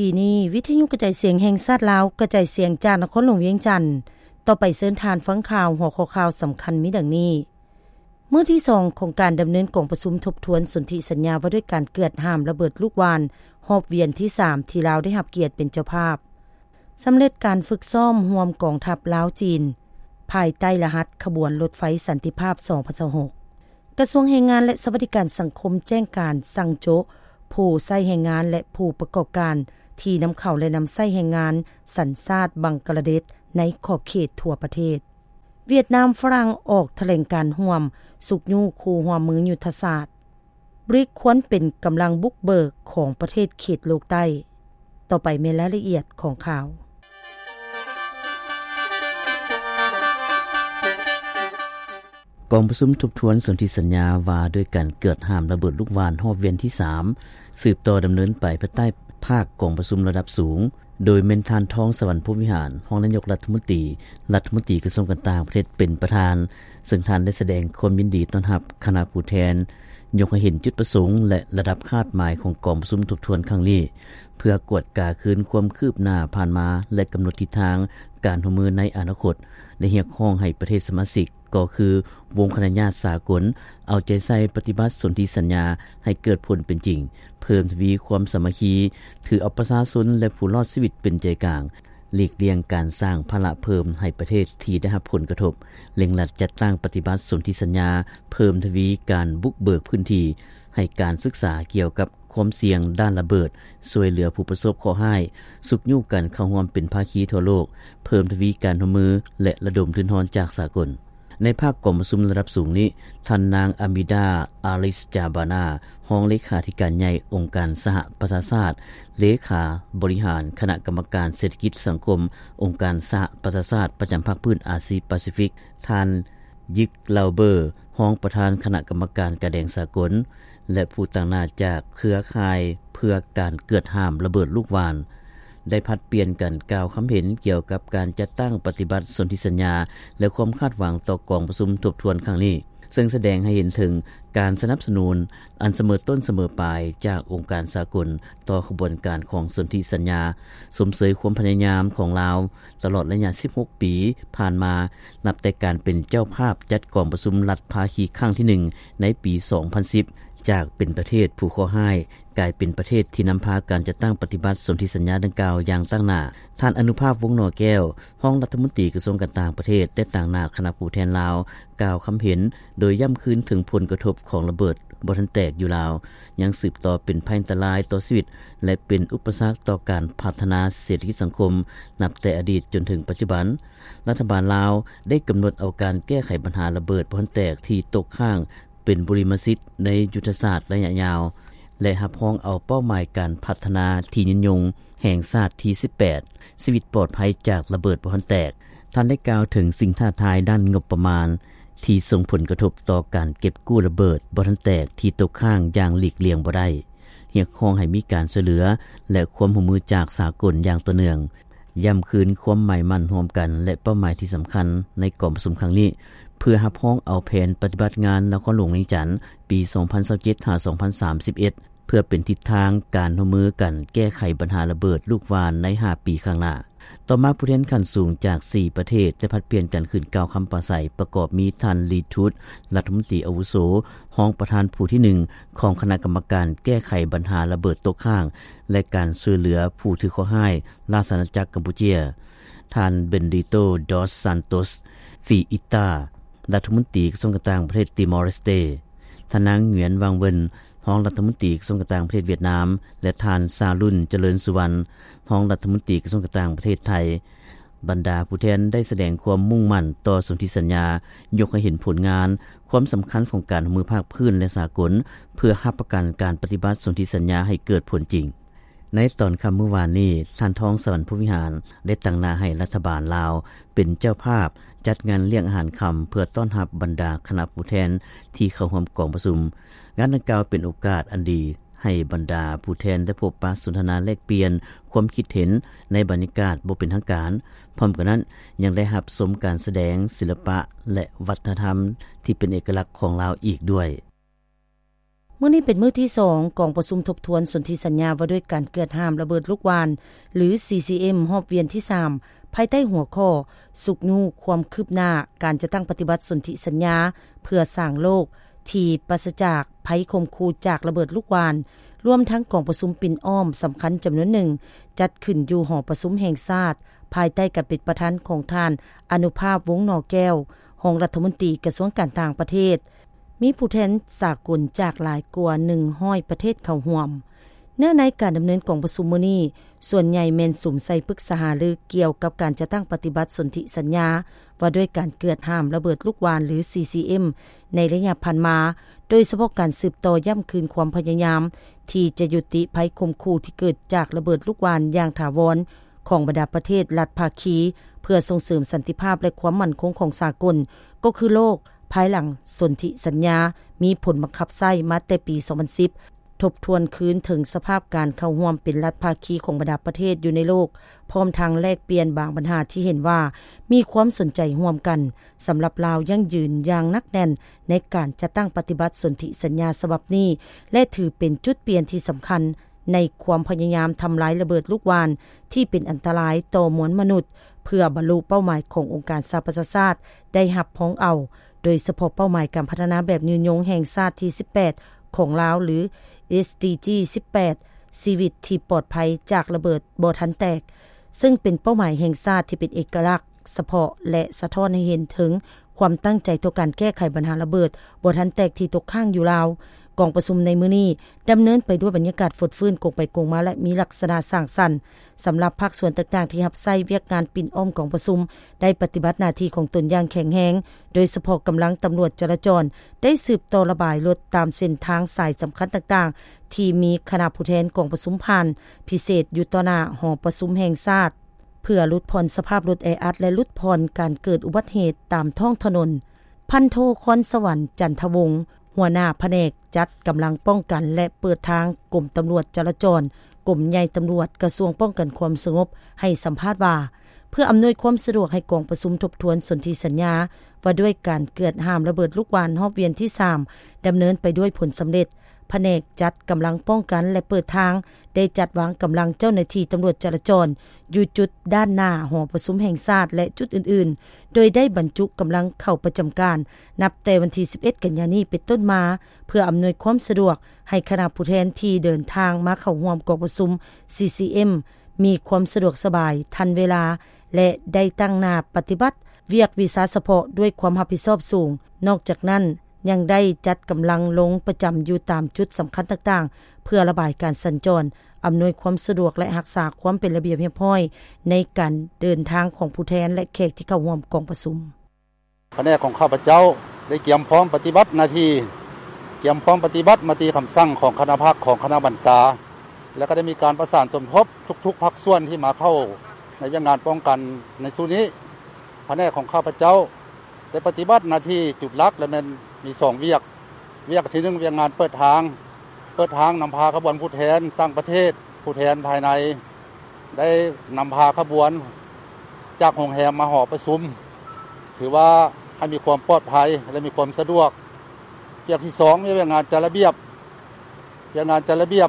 ທີ່ນີ້ ວິທະຍຸກະຈາຍສຽງແຫ່ງຊາດລາວ ກະຈາຍສຽງຈາກນະຄອນຫຼວງວຽງຈັນ. ຕໍ່ໄປເຊີນທ່ານຟັງຂ່າວ ຫົວຂໍ້ຂ່າວສຳຄັນມີດັ່ງນີ້. ມື້ທີສອງຂອງການດຳເນີນກອງປະຊຸມທົບທວນສົນທິສັນຍາວ່າດ້ວຍການເກືອດຫ້າມລະເບີດລູກຫວ່ານ ຮອບວຽນທີສາມ ທີ່ລາວໄດ້ຮັບກຽດເປັນເຈົ້າພາບ. ສຳເລັດການຝຶກຊ້ອມຮ່ວມກອງທັບລາວ-ຈີນ ພາຍໃຕ້ລະຫັດຂະບວນລົດໄຟສັນຕິພາບ ສອງພັນຊາວຫົກ. ກະຊວງແຮງງານ ແລະ ສະຫວັດດີການສັງຄົມແຈ້ງການສັ່ງໂຈະຜູ້ໃຊ້ແຮງງານ ແລະ ຜູ້ປະກອບການທີ່ນຳເຂົ້າ ແລະ ນຳໃຊ້ແຮງງານສັນຊາດບັງກະລາເດດໃນຂອບເຂດທົ່ວປະເທດ. ຫວຽດນາມຝຣັ່ງອອກຖະແຫຼງການຮ່ວມ ຊຸກຍູ້ຄູ່ຮ່ວມມືຍຸດທະສາດ. ບຣິກຄວນເປັນກຳລັງບຸກເບີກຂອງປະເທດເຂດໂລກໃຕ້. ຕໍ່ໄປແມ່ນລາຍລະອຽດຂອງຂ່າວ. ກອງປະຊຸມທົບທວນສົນທິສັນຍາວ່າດ້ວຍການເກືອດຫ້າມລະເບີດລູກຫວ່ານຮອບວຽນທີສາມ ສືບຕໍ່ດຳເນີນໄປພາຍໃຕ້ພາກກອງປະຊຸມລະດັບສູງ ໂດຍແມ່ນທ່ານ ທອງສະຫວັນ ພົມວິຫານ ຮອງນາຍົກລັດຖະມົນຕີ, ລັດຖະມົນຕີກະຊວງການຕ່າງປະເທດເປັນປະທານ, ເຊິ່ງທ່ານໄດ້ສະແດງຄວາມຍິນດີຕ້ອນຮັບຄະນະຜູ້ແທນ, ຍົກໃຫ້ເຫັນຈຸດປະສົງ ແລະ ລະດັບຄາດໝາຍຂອງກອງປະຊຸມທົບທວນຄັ້ງນີ້ ເພື່ອກວດກາຄືນຄວາມຄືບໜ້າຜ່ານມາ ແລະ ກຳນົດທິດທາງການຮ່ວມມືໃນອະນາຄົດ ແລະ ຮຽກຮ້ອງໃຫ້ປະເທດສະມາຊິກ ກໍຄືວົງຄະນະຍາດສາກົນ ເອົາໃຈໃສ່ປະຕິບັດສົນທິສັນຍາໃຫ້ເກີດຜົນເປັນຈິງ, ເພີ່ມທະວີຄວາມສາມັກຄີ, ຖືເອົາປະຊາຊົນ ແລະ ຜູ້ລອດຊີວິດເປັນໃຈກາງ, ຫຼີກລ່ຽງການສ້າງພາລະເພີ່ມໃຫ້ປະເທດທີ່ໄດ້ຮັບຜົນກະທົບ, ເລັ່ງລັດຈັດຕັ້ງປະຕິບັດສົນທິສັນຍາ, ເພີ່ມທະວີການບຸກເບີກພື້ນທີ່, ໃຫ້ການສຶກສາກ່ຽວກັບຄວາມສ່ຽງດ້ານລະເບີດ, ຊ່ວຍເຫຼືອຜູ້ປະສົບເຄາະຮ້າຍ, ຊຸກຍູ້ກັນເຂົ້າຮ່ວມເປັນພາຄີທົ່ວໂລກ, ເພີ່ມທະວີການຮ່ວມມື ແລະ ລະດົມທຶນຮອນຈາກສາກົນ. ໃນພາກກອງປະຊຸມລະດັບສູງນີ້, ທ່ານນາງ ອາມິດາ ອາລິສ ຈາບານາ ຮອງເລຂາທິການໃຫຍ່ອົງການສະຫະປະຊາຊາດ, ເລຂາບໍລິຫານຄະນະກຳມະການເສດຖະກິດສັງຄົມອົງການສະຫະປະຊາຊາດປະຈຳພາກພື້ນອາຊີປາຊີຟິກ, ທ່ານ ຢິກ ລາວເບີ ຮອງປະທານຄະນະກຳມະການກາແດງສາກົນ ແລະ ຜູ້ຕາງໜ້າຈາກເຄືອຂ່າຍເພື່ອການເກືອດຫ້າມລະເບີດລູກຫວ່ານ ໄດ້ຜັດປ່ຽນກັນກ່າວຄຳເຫັນກ່ຽວກັບການຈັດຕັ້ງປະຕິບັດສົນທິສັນຍາ ແລະ ຄວາມຄາດຫວັງຕໍ່ກອງປະຊຸມທົບທວນຄັ້ງນີ້, ເຊິ່ງສະແດງໃຫ້ເຫັນເຖິງການສະໜັບສະໜູນອັນສະເໝີຕົ້ນສະເໝີປາຍຈາກອົງການສາກົນຕໍ່ຂະບວນການຂອງສົນທິສັນຍາ, ຊົມເຊີຍຄວາມພະຍາຍາມຂອງລາວ ຕະຫຼອດໄລຍະສິບຫົກປີຜ່ານມາ, ນັບແຕ່ການເປັນເຈົ້າພາບຈັດກອງປະຊຸມລັດພາຄີຄັ້ງທີໜຶ່ງໃນປີສອງພັນສິບ ຈາກເປັນປະເທດຜູ້ເຄາະຮ້າຍ ກາຍເປັນປະເທດທີ່ນຳພາການຈັດຕັ້ງປະຕິບັດສົນທິສັນຍາດັ່ງກ່າວຢ່າງຕັ້ງໜ້າ. ທ່ານ ອະນຸພາບ ວົງໜໍແກ້ວ ຮອງລັດຖະມົນຕີກະຊວງການຕ່າງປະເທດ ແລະ ຕາງໜ້າຄະນະຜູ້ແທນລາວ ກ່າວຄຳເຫັນ ໂດຍຢ້ຳຄືນເຖິງຜົນກະທົບຂອງລະເບີດບໍ່ທັນແຕກຢູ່ລາວ ຍັງສືບຕໍ່ເປັນໄພອັນຕະລາຍຕໍ່ຊີວິດ ແລະ ເປັນອຸປະສັກຕໍ່ການພັດທະນາເສດຖະກິດສັງຄົມ ນັບແຕ່ອະດີດຈົນເຖິງປັດຈຸບັນ. ລັດຖະບານລາວໄດ້ກຳນົດເອົາການແກ້ໄຂບັນຫາລະເບີດບໍ່ທັນແຕກທີ່ຕົກຄ້າງເປັນບຸລິມະສິດໃນຍຸດທະສາດໄລຍະຍາວ ແລະ ຮັບຮອງເອົາເປົ້າໝາຍການພັດທະນາທີ່ຍືນຍົງແຫ່ງຊາດທີສິບແປດ ຊີວິດປອດໄພຈາກລະເບີດບໍ່ທັນແຕກ. ທ່ານໄດ້ກ່າວເຖິງສິ່ງທ້າທາຍດ້ານງົບປະມານ ທີ່ສົ່ງຜົນກະທົບຕໍ່ການເກັບກູ້ລະເບີດບໍ່ທັນແຕກທີ່ຕົກຄ້າງຢ່າງຫຼີກລ່ຽງບໍ່ໄດ້, ຮຽກຮ້ອງໃຫ້ມີການຊ່ວຍເຫຼືອ ແລະ ຄວາມຮ່ວມມືຈາກສາກົນຢ່າງຕໍ່ເນື່ອງ, ຢ້ຳຄືນຄວາມໝາຍໝັ້ນຮ່ວມກັນ ແລະ ເປົ້າໝາຍທີ່ສຳຄັນໃນກອງປະຊຸມຄັ້ງນີ້ ເພື່ອຮັບຮອງເອົາແຜນປະຕິບັດງານນະຄອນຫຼວງວຽງຈັນ ປີສອງພັນຊາວເຈັດ ຫາ ສອງພັນສາມສິບເອັດ ເພື່ອເປັນທິດທາງການຮ່ວມມືກັນແກ້ໄຂບັນຫາລະເບີດລູກຫວ່ານໃນຫ້າປີຂ້າງໜ້າ. ຕໍ່ມາ ຜູ້ແທນຂັ້ນສູງຈາກສີ່ປະເທດໄດ້ຜັດປ່ຽນກັນຂຶ້ນກ່າວຄຳປາໄສ ປະກອບມີທ່ານ ລີ ທູດ ລັດຖະມົນຕີອາວຸໂສ, ຮອງປະທານຜູ້ທີໜຶ່ງຂອງຄະນະກຳມະການແກ້ໄຂບັນຫາລະເບີດຕົກຄ້າງ ແລະ ການຊ່ວຍເຫຼືອຜູ້ຖືກເຄາະຮ້າຍ ລາຊະອານາຈັກກຳປູເຈຍ, ທ່ານ ເບັນດິໂຕ ດອສ ຊານໂຕສ ຟີອິຕາ ລັດຖະມົນຕີກະຊວງການຕ່າງປະເທດຕີມໍເລສເຕ, ທ່ານນາງ ຫງວຽນ ວັງເວິນ ຮອງລັດຖະມົນຕີກະຊວງການຕ່າງປະເທດຫວຽດນາມ ແລະ ທ່ານ ຊາລຸນ ຈະເລີນສຸວັນ ຮອງລັດຖະມົນຕີກະຊວງການຕ່າງປະເທດໄທ. ບັນດາຜູ້ແທນໄດ້ສະແດງຄວາມມຸ່ງໝັ້ນຕໍ່ສົນທິສັນຍາ, ຍົກໃຫ້ເຫັນຜົນງານ, ຄວາມສຳຄັນຂອງການຮ່ວມມືພາກພື້ນ ແລະ ສາກົນ ເພື່ອຮັບປະກັນການປະຕິບັດສົນທິສັນຍາໃຫ້ເກີດຜົນຈິງ. ໃນຕອນຄ່ຳມື້ວານນີ້, ທ່ານ ທອງສະຫວັນ ພົມວິຫານ ໄດ້ຕາງໜ້າໃຫ້ລັດຖະບານລາວເປັນເຈົ້າພາບຈັດງານລ້ຽງອາຫານຄ່ຳ ເພື່ອຕ້ອນຮັບບັນດາຄະນະຜູ້ແທນທີ່ເຂົ້າຮ່ວມກອງປະຊຸມ. ງານດັ່ງກ່າວເປັນໂອກາດອັນດີໃຫ້ບັນດາຜູ້ແທນໄດ້ພົບປະສົນທະນາແລກປ່ຽນຄວາມຄິດເຫັນໃນບັນຍາກາດບໍ່ເປັນທາງການ. ພ້ອມກັນນັ້ນ, ຍັງໄດ້ຮັບຊົມການສະແດງສິລະປະ ແລະ ວັດທະນະທຳທີ່ເປັນເອກະລັກຂອງລາວອີກດ້ວຍ. ມື້ນີ້ເປັນມື້ທີສອງ ກອງປະຊຸມທົບທວນສົນທິສັນຍາວ່າດ້ວຍການເກືອດຫ້າມລະເບີດລູກຫວ່ານ ຫຼື ຊີຊີເອັມ ຮອບວຽນທີສາມ ພາຍໃຕ້ຫົວຂໍ້ ຊຸກຍູ້ຄວາມຄືບໜ້າການຈັດຕັ້ງປະຕິບັດສົນທິສັນຍາ ເພື່ອສ້າງໂລກທີ່ປາສະຈາກໄພຂົ່ມຂູ່ຈາກລະເບີດລູກຫວ່ານ, ລວມທັງກອງປະຊຸມປິ່ນອ້ອມສຳຄັນຈຳນວນໜຶ່ງ ຈັດຂຶ້ນຢູ່ຫໍປະຊຸມແຫ່ງຊາດ ພາຍໃຕ້ການເປັນປະທານຂອງທ່ານ ອະນຸພາບ ວົງໜໍແກ້ວ ຮອງລັດຖະມົນຕີກະຊວງການຕ່າງປະເທດ. ມີຜູ້ແທນສາກົນຈາກຫຼາຍກວ່າໜຶ່ງຮ້ອຍປະເທດເຂົ້າຮ່ວມ. ເນື້ອໃນການດຳເນີນກອງປະຊຸມມື້ນີ້ ສ່ວນໃຫຍ່ແມ່ນສຸມໃສ່ປຶກສາຫາລືກ່ຽວກັບການຈັດຕັ້ງປະຕິບັດສົນທິສັນຍາວ່າດ້ວຍການເກືອດຫ້າມລະເບີດລູກຫວ່ານ ຫຼື ຊີຊີເອັມ ໃນໄລຍະຜ່ານມາ, ໂດຍສະເພາະການສືບຕໍ່ຢ້ຳຄືນຄວາມພະຍາຍາມທີ່ຈະຍຸຕິໄພຂົ່ມຂູ່ທີ່ເກີດຈາກລະເບີດລູກຫວ່ານຢ່າງຖາວອນຂອງບັນດາປະເທດລັດພາຄີ ເພື່ອສົ່ງເສີມສັນຕິພາບ ແລະ ຄວາມໝັ້ນຄົງຂອງສາກົນ ກໍຄືໂລກ ພາຍຫຼັງສົນທິສັນຍາມີຜົນບັງຄັບໃຊ້ມາແຕ່ປີສອງພັນສິບ ທົບທວນຄືນເຖິງສະພາບການເຂົ້າຮ່ວມເປັນລັດພາຄີຂອງບັນດາປະເທດຢູ່ໃນໂລກ, ພ້ອມທັງແລກປ່ຽນບາງບັນຫາທີ່ເຫັນວ່າມີຄວາມສົນໃຈຮ່ວມກັນ. ສຳລັບລາວ ຢັ້ງຢືນຢ່າງໜັກແໜ້ນໃນການຈັດຕັ້ງປະຕິບັດສົນທິສັນຍາສະບັບນີ້ ແລະ ຖືເປັນຈຸດປ່ຽນທີ່ສຳຄັນໃນຄວາມພະຍາຍາມທຳລາຍລະເບີດລູກຫວ່ານທີ່ເປັນອັນຕະລາຍຕໍ່ມວນມະນຸດ ເພື່ອບັນລຸເປົ້າໝາຍຂອງອົງການສະຫະປະຊາຊາດໄດ້ຮັບຮອງເອົາ, ໂດຍສະເພາະເປົ້າໝາຍການພັດທະນາແບບຍືນຍົງແຫ່ງຊາດທີສິບແປດຂອງລາວ ຫຼື ເອສດີຈີ ສິບແປດ ຊີວິດທີ່ປອດໄພຈາກລະເບີດບໍ່ທັນແຕກ, ເຊິ່ງເປັນເປົ້າໝາຍແຫ່ງຊາດທີ່ເປັນເອກະລັກສະເພາະ ແລະ ສະທ້ອນໃຫ້ເຫັນເຖິງຄວາມຕັ້ງໃຈຕໍ່ການແກ້ໄຂບັນຫາລະເບີດບໍ່ທັນແຕກທີ່ຕົກຄ້າງຢູ່ລາວ. ກອງປະຊຸມໃນມື້ນີ້ດຳເນີນໄປດ້ວຍບັນຍາກາດຟົດຟື້ນກົງໄປກົງມາ ແລະ ມີລັກສະນະສ້າງສັນ. ສຳລັບພາກສ່ວນຕ່າງໆທີ່ຮັບໃຊ້ວຽກງານປິ່ນອ້ອມກອງປະຊຸມ ໄດ້ປະຕິບັດໜ້າທີ່ຂອງຕົນຢ່າງແຂງແຮງ, ໂດຍສະເພາະກຳລັງຕຳຫຼວດຈະລາຈອນໄດ້ສືບຕໍ່ລະບາຍລົດຕາມເສັ້ນທາງສາຍສຳຄັນຕ່າງໆ ທີ່ມີຄະນະຜູ້ແທນກອງປະຊຸມຜ່ານ, ພິເສດຢູ່ຕໍ່ໜ້າຫໍປະຊຸມແຫ່ງຊາດ ເພື່ອຫຼຸດຜ່ອນສະພາບລົດແອອັດ ແລະ ຫຼຸດຜ່ອນການເກີດອຸບັດເຫດຕາມທ້ອງຖະໜົນ. ພັນໂທ ຄອນສະຫວັນ ຈັນທະວົງ ຫົວໜ້າພະແນກຈັດກຳລັງປ້ອງກັນ ແລະ ເປີດທາງ ກົມຕຳຫຼວດຈະລາຈອນ, ກົມໃຫຍ່ຕຳຫຼວດ, ກະຊວງປ້ອງກັນຄວາມສະຫງົບ ໃຫ້ສຳພາດວ່າ ເພື່ອອຳນວຍຄວາມສະດວກໃຫ້ກອງປະຊຸມທົບທວນສົນທິສັນຍາວ່າດ້ວຍການເກືອດຫ້າມລະເບີດລູກຫວ່ານຮອບວຽນທີສາມ ດຳເນີນໄປດ້ວຍຜົນສຳເລັດ, ພະແນກຈັດກຳລັງປ້ອງກັນ ແລະ ເປີດທາງ ໄດ້ຈັດວາງກຳລັງເຈົ້າໜ້າທີ່ຕຳຫຼວດຈະລາຈອນຢູ່ຈຸດດ້ານໜ້າຫໍປະຊຸມແຫ່ງຊາດ ແລະ ຈຸດອື່ນໆ, ໂດຍໄດ້ບັນຈຸກຳລັງເຂົ້າປະຈຳການ ນັບແຕ່ວັນທີສິບເອັດ ກັນຍານີ້ເປັນຕົ້ນມາ ເພື່ອອຳນວຍຄວາມສະດວກໃຫ້ຄະນະຜູ້ແທນທີ່ເດີນທາງມາເຂົ້າຮ່ວມກອງປະຊຸມ ຊີຊີເອັມ ມີຄວາມສະດວກສະບາຍ, ທັນເວລາ ແລະ ໄດ້ຕັ້ງໜ້າປະຕິບັດວຽກວິຊາສະເພາະດ້ວຍຄວາມຮັບຜິດຊອບສູງ. ນອກຈາກນັ້ນ, ຍັງໄດ້ຈັດກຳລັງລົງປະຈຳຢູ່ຕາມຈຸດສຳຄັນຕ່າງໆ ເພື່ອລະບາຍການສັນຈອນ, ອຳນວຍຄວາມສະດວກ ແລະ ຮັກສາຄວາມເປັນລະບຽບຮຽບຮ້ອຍໃນການເດີນທາງຂອງຜູ້ແທນ ແລະ ແຂກທີ່ເຂົ້າຮ່ວມກອງປະຊຸມ. ພະແນກຂອງຂ້າພະເຈົ້າໄດ້ກຽມພ້ອມປະຕິບັດໜ້າທີ່, ກຽມພ້ອມປະຕິບັດມະຕິຄຳສັ່ງຂອງຄະນະພັກ, ຂອງຄະນະບັນຊາ ແລະ ກໍໄດ້ມີການປະສານສົມທົບທຸກໆພາກສ່ວນທີ່ມາເຂົ້າໃນວຽກງານປ້ອງກັນໃນຊຸດນີ້. ພະແນກຂອງຂ້າພະເຈົ້າ ໄດ້ປະຕິບັດໜ້າທີ່ຈຸດຫຼັກ ແລະ ແມ່ນມີສອງວຽກ. ວຽກທີໜຶ່ງ ວຽກງານເປີດທາງ, ເປີດທາງນຳພາຂະບວນຜູ້ແທນຕ່າງປະເທດ, ຜູ້ແທນພາຍໃນ ໄດ້ນຳພາຂະບວນຈາກໂຮງແຮມມາຫໍປະຊຸມ, ຖືວ່າໃຫ້ມີຄວາມປອດໄພ ແລະ ມີຄວາມສະດວກ. ວຽກທີສອງ ວຽກງານຈັດລະບຽບ, ວຽກງານຈັດລະບຽບ